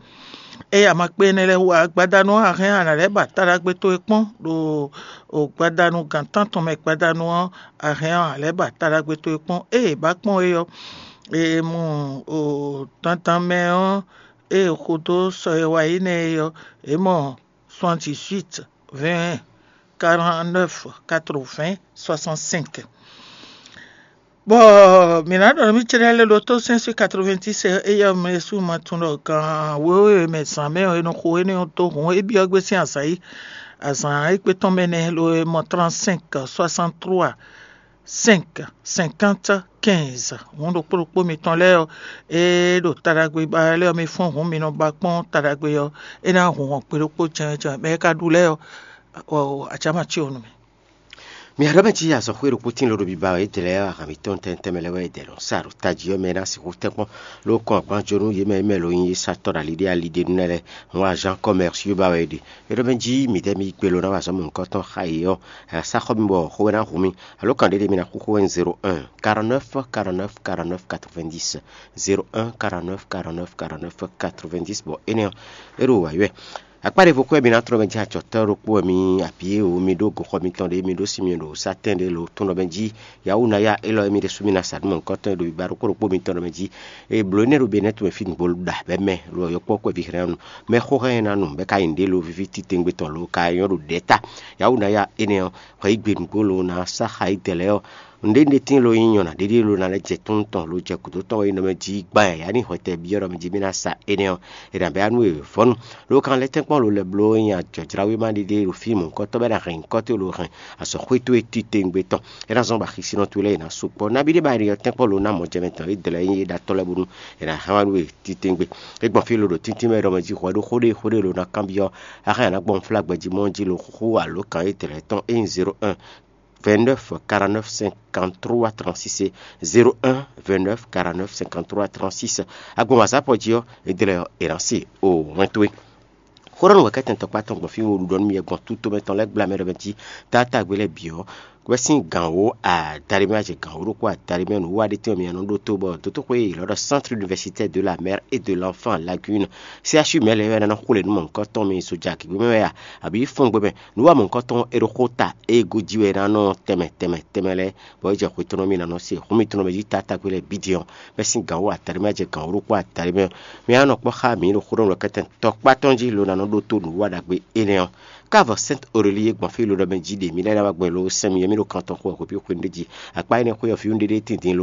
Ée a ma kpé énɛ́ lɛ́ɛ wú ǎ, gbadanu ɔ́, a hɛn a nǎ lɛ́ ba taɖagbe towe kpɔ́n ɖo gbadanu gǎn tántɔn mɛ. Gbadanu ɔ́, a hɛn a nǎ lɛ́ ba taɖagbe towe kpɔ́n. Ée è ba kpɔ́n é ɔ́, è mɔ dandan mɛ ɔ́, ée è xo dó sɔ e wá yi nɛ́ é ɔ́, è mɔ soixante-dix-huit, vingt, quarante-neuf, quatre-vingts, soixante-cinq. Bɔ mǐ ná ɖɔ nú mì céɖɛ́ lɛ́ɛ ɖo tó sɛ́n sín quatre-vingt-dix éyɛ́ ɔ́, mɛ ɖésú ma tunwun ɖɔ gan wěwe mɛ zǎn mɛ ɔ́, è nɔ xo énɛ́ ɔ́ dó hǔn é byɔ́ gbé sín azǎn yi. Azǎn égbé tɔn mɛ nɛ́ lo e mɔ trente-cinq, soixante-trois, cinq, cinquante, quinze. Hǔn ɖokpó ɖokpó mitɔn lɛ́ɛ ɔ́, é ɖo taɖagbe ba lɛ́ɛ ɔ́, mi fɔ́n hǔn mi nɔ ba kpɔ́n taɖagbe ɔ́, é ná hun hɔn gbe ɖokpó jɛnjɛn mɛ e ka ɖu lɛ́ɛ ɔ́, acǎ ma cí o nú mi. Mi aɖɔ́ mɛ cí azɔ̌xwé ɖokpó tín ló ɖo biba wɛ é dlɛ́ ahan mǐtɔn tɛntɛn mɛ lɛ́ɛ wɛ é dɛ lɔn sa ɖo tají ɔ́ mɛ ná sixú tɛ́nkpɔ́n ló kɔn agban jó nú yě mɛ mɛ lo nyí satɔ́ ɖo ali ɖé ali ɖé nú lɛ́ɛ lɛ́ɛ. Hɔn azán kɔmɛrsio ba wɛ é ɖe. É ɖɔ mɛ jí midɛɛ mi gbe lo ná wa azɔ̌ mɔ̌hunkɔtɔn xá yě ɔ́, sa xɔ mi bɔ xó wɛ ná hu mi. Alo kan ɖé ɖé mi ná xúxú wɛ zéro un, quarante-neuf, quarante-neuf, quarante-neuf, quatre-vingt-dix, zéro un, quarante-neuf, quarante-neuf, quarante-neuf, quatre-vingt-dix. Bɔ énɛ́ ɔ́, é ɖo wǎyi wɛ. Akpá ɖěvo kú wɛ mi ná tlɔ́ mɛ jɛ acɔ̌tɔ́ ɖokpó wɛ mi abǐ e wǒ mi ɖó goxɔ mitɔn ɖě mi ɖó sin mi ɖo satɛ́n ɖé lo tún ɖɔ mɛ jí. Yawunaya élɔ́ e mi ɖésú mi ná sa nú mɔ̌hunkɔtɔn e ɖo biba ɖokpó ɖokpó mitɔn ɖɔ mɛ jí. E blǒ énɛ́ ɖo Benɛ́tu mɛ fí nǔgbó ɖo ɖa bɛ́ mɛ lo yɔkpɔ́ kɔ́ vǐ hlɛ́n nu. Mɛ xó hɛn ná nu bɛ́ ka nyi nǔɖé lo víví titewungbe tɔn lo ka nyɔ́ ɖo ɖɛ̌ ta. Yawunaya énɛ́ ɔ́, hwɛ yí gbe nǔgbó lo ná sá xa yi dɛ lɛ́ɛ ɔ́, nǔɖé ɖé tíin lo nyí nyɔ̌ná ɖéɖé lo ná lɛ́ jɛ tún tɔn lo jɛ gǔdo tɔn wɛ nyí nɔ mɛ jí gbán yǎyá ní hwɛtɛ byɔ́ ɖɔ mɛ jí mì ná sa énɛ́ ɔ́, è nǎ bɛ́ wá nú e vɔ̌nu. Lo kan lɛ́ tɛ́nkpɔ́n lo lɛ́ bló nyí ajɔ̌jláwéma ɖéɖé ɖo fí mɔ̌hunkɔtɔn bɔ é ná hɛn nyǐkɔ towe lo hɛn azɔ̌xwé towe titewungbe tɔn. É ná zɔ́n bɔ axisínɔ towe lɛ́ɛ è nǎ sukpɔ́. Nabí ɖé ba è nɔ tɛ́nkpɔ́n lo ná mɔjɛmɛ tɔn é dlɛ́ nyí é ɖo atɔ́ lɛ́ɛ bónú è nǎ hɛn wá nú we titewungbe. É gbɔn fí lo ɖo tíntín mɛ ɖɔ mɛ jí hwɛ ɖó xó ɖé xó ɖé lo ná kanbyɔ́, axan è nǎ gbɔn flágbɛ jí mɔ jí lo xúxú alǒ kan é dlɛ́ tɔn é nyí zéro un, vingt-neuf, quarante-neuf, cinquante-trois, trente-six, zéro un, vingt-neuf, quarante-neuf, cinquante-trois, trente-six. Agbɔn wazapɔ jí ɔ́, é dlɛ́ ɔ́, è nǎ se o wɛn towe. Xó ɖɔ nú wɛ̌kɛ́tɛn tɔkpá tɔn gbɔn fí wo ɖu ɖɔ nú mi gbɔn tító mɛ tɔn lɛ́ɛ gbla mɛ ɖɔ mɛ jí, taátagbe lɛ́ɛ bǐ ɔ́, Wɛ sín gǎn wó adaɖé mɛ, a jɛ gǎn wó ɖokpó adaɖé mɛ, nǔwiwa ɖé tɛ́nwe mi nɔ ɖótó bɔ dotóxwé e è lɔ ɖɔ Centre Universitaire de la Mère et de l'Enfant Lagune, C H U mɛ lɛ́ɛ wɛ ná nɔ xwlé nú mɔ̌hunkɔtɔn mi soja gěgbé mɛ wɛ a, abǐ fɔ́ngbé mɛ? Nǔwiwa mɔ̌hunkɔtɔn e ɖo xó ta e gojí wɛ ná nɔ tɛnmɛ tɛnmɛ tɛnmɛ lɛ́ɛ, bɔ é jɛ xwe tɔn nɔ mi ná nɔ se hǔn mitɔn mɛ jí tatákpé lɛ́ɛ bǐ din ɔ́, bɛ́ sín gǎn wó adaɖé mɛ, a jɛ gǎn wó ɖokpó adaɖé mɛ. Mi ná nɔ kpɔ́ xá mǐ ɖo xó ɖɔ nǔ kɛ́tɛn tɔkpá tɔn jí lo ná nɔ ɖótó nǔwiwa ɖagbe énɛ́ ɔ́. Ká vɔ Sɛ́nt Orelíi e gbɔn fí lodɔ mɛ jí ɖe mǐ lɛ́ ná wá gbɛn lo sɛn mì yɛmɛ ɖo kan tɔn xo wɛ hwebǐ xwenu ɖé jí. Akpá énɛ́ xwé ɔ́, vǐwun ɖé ɖé tín din lo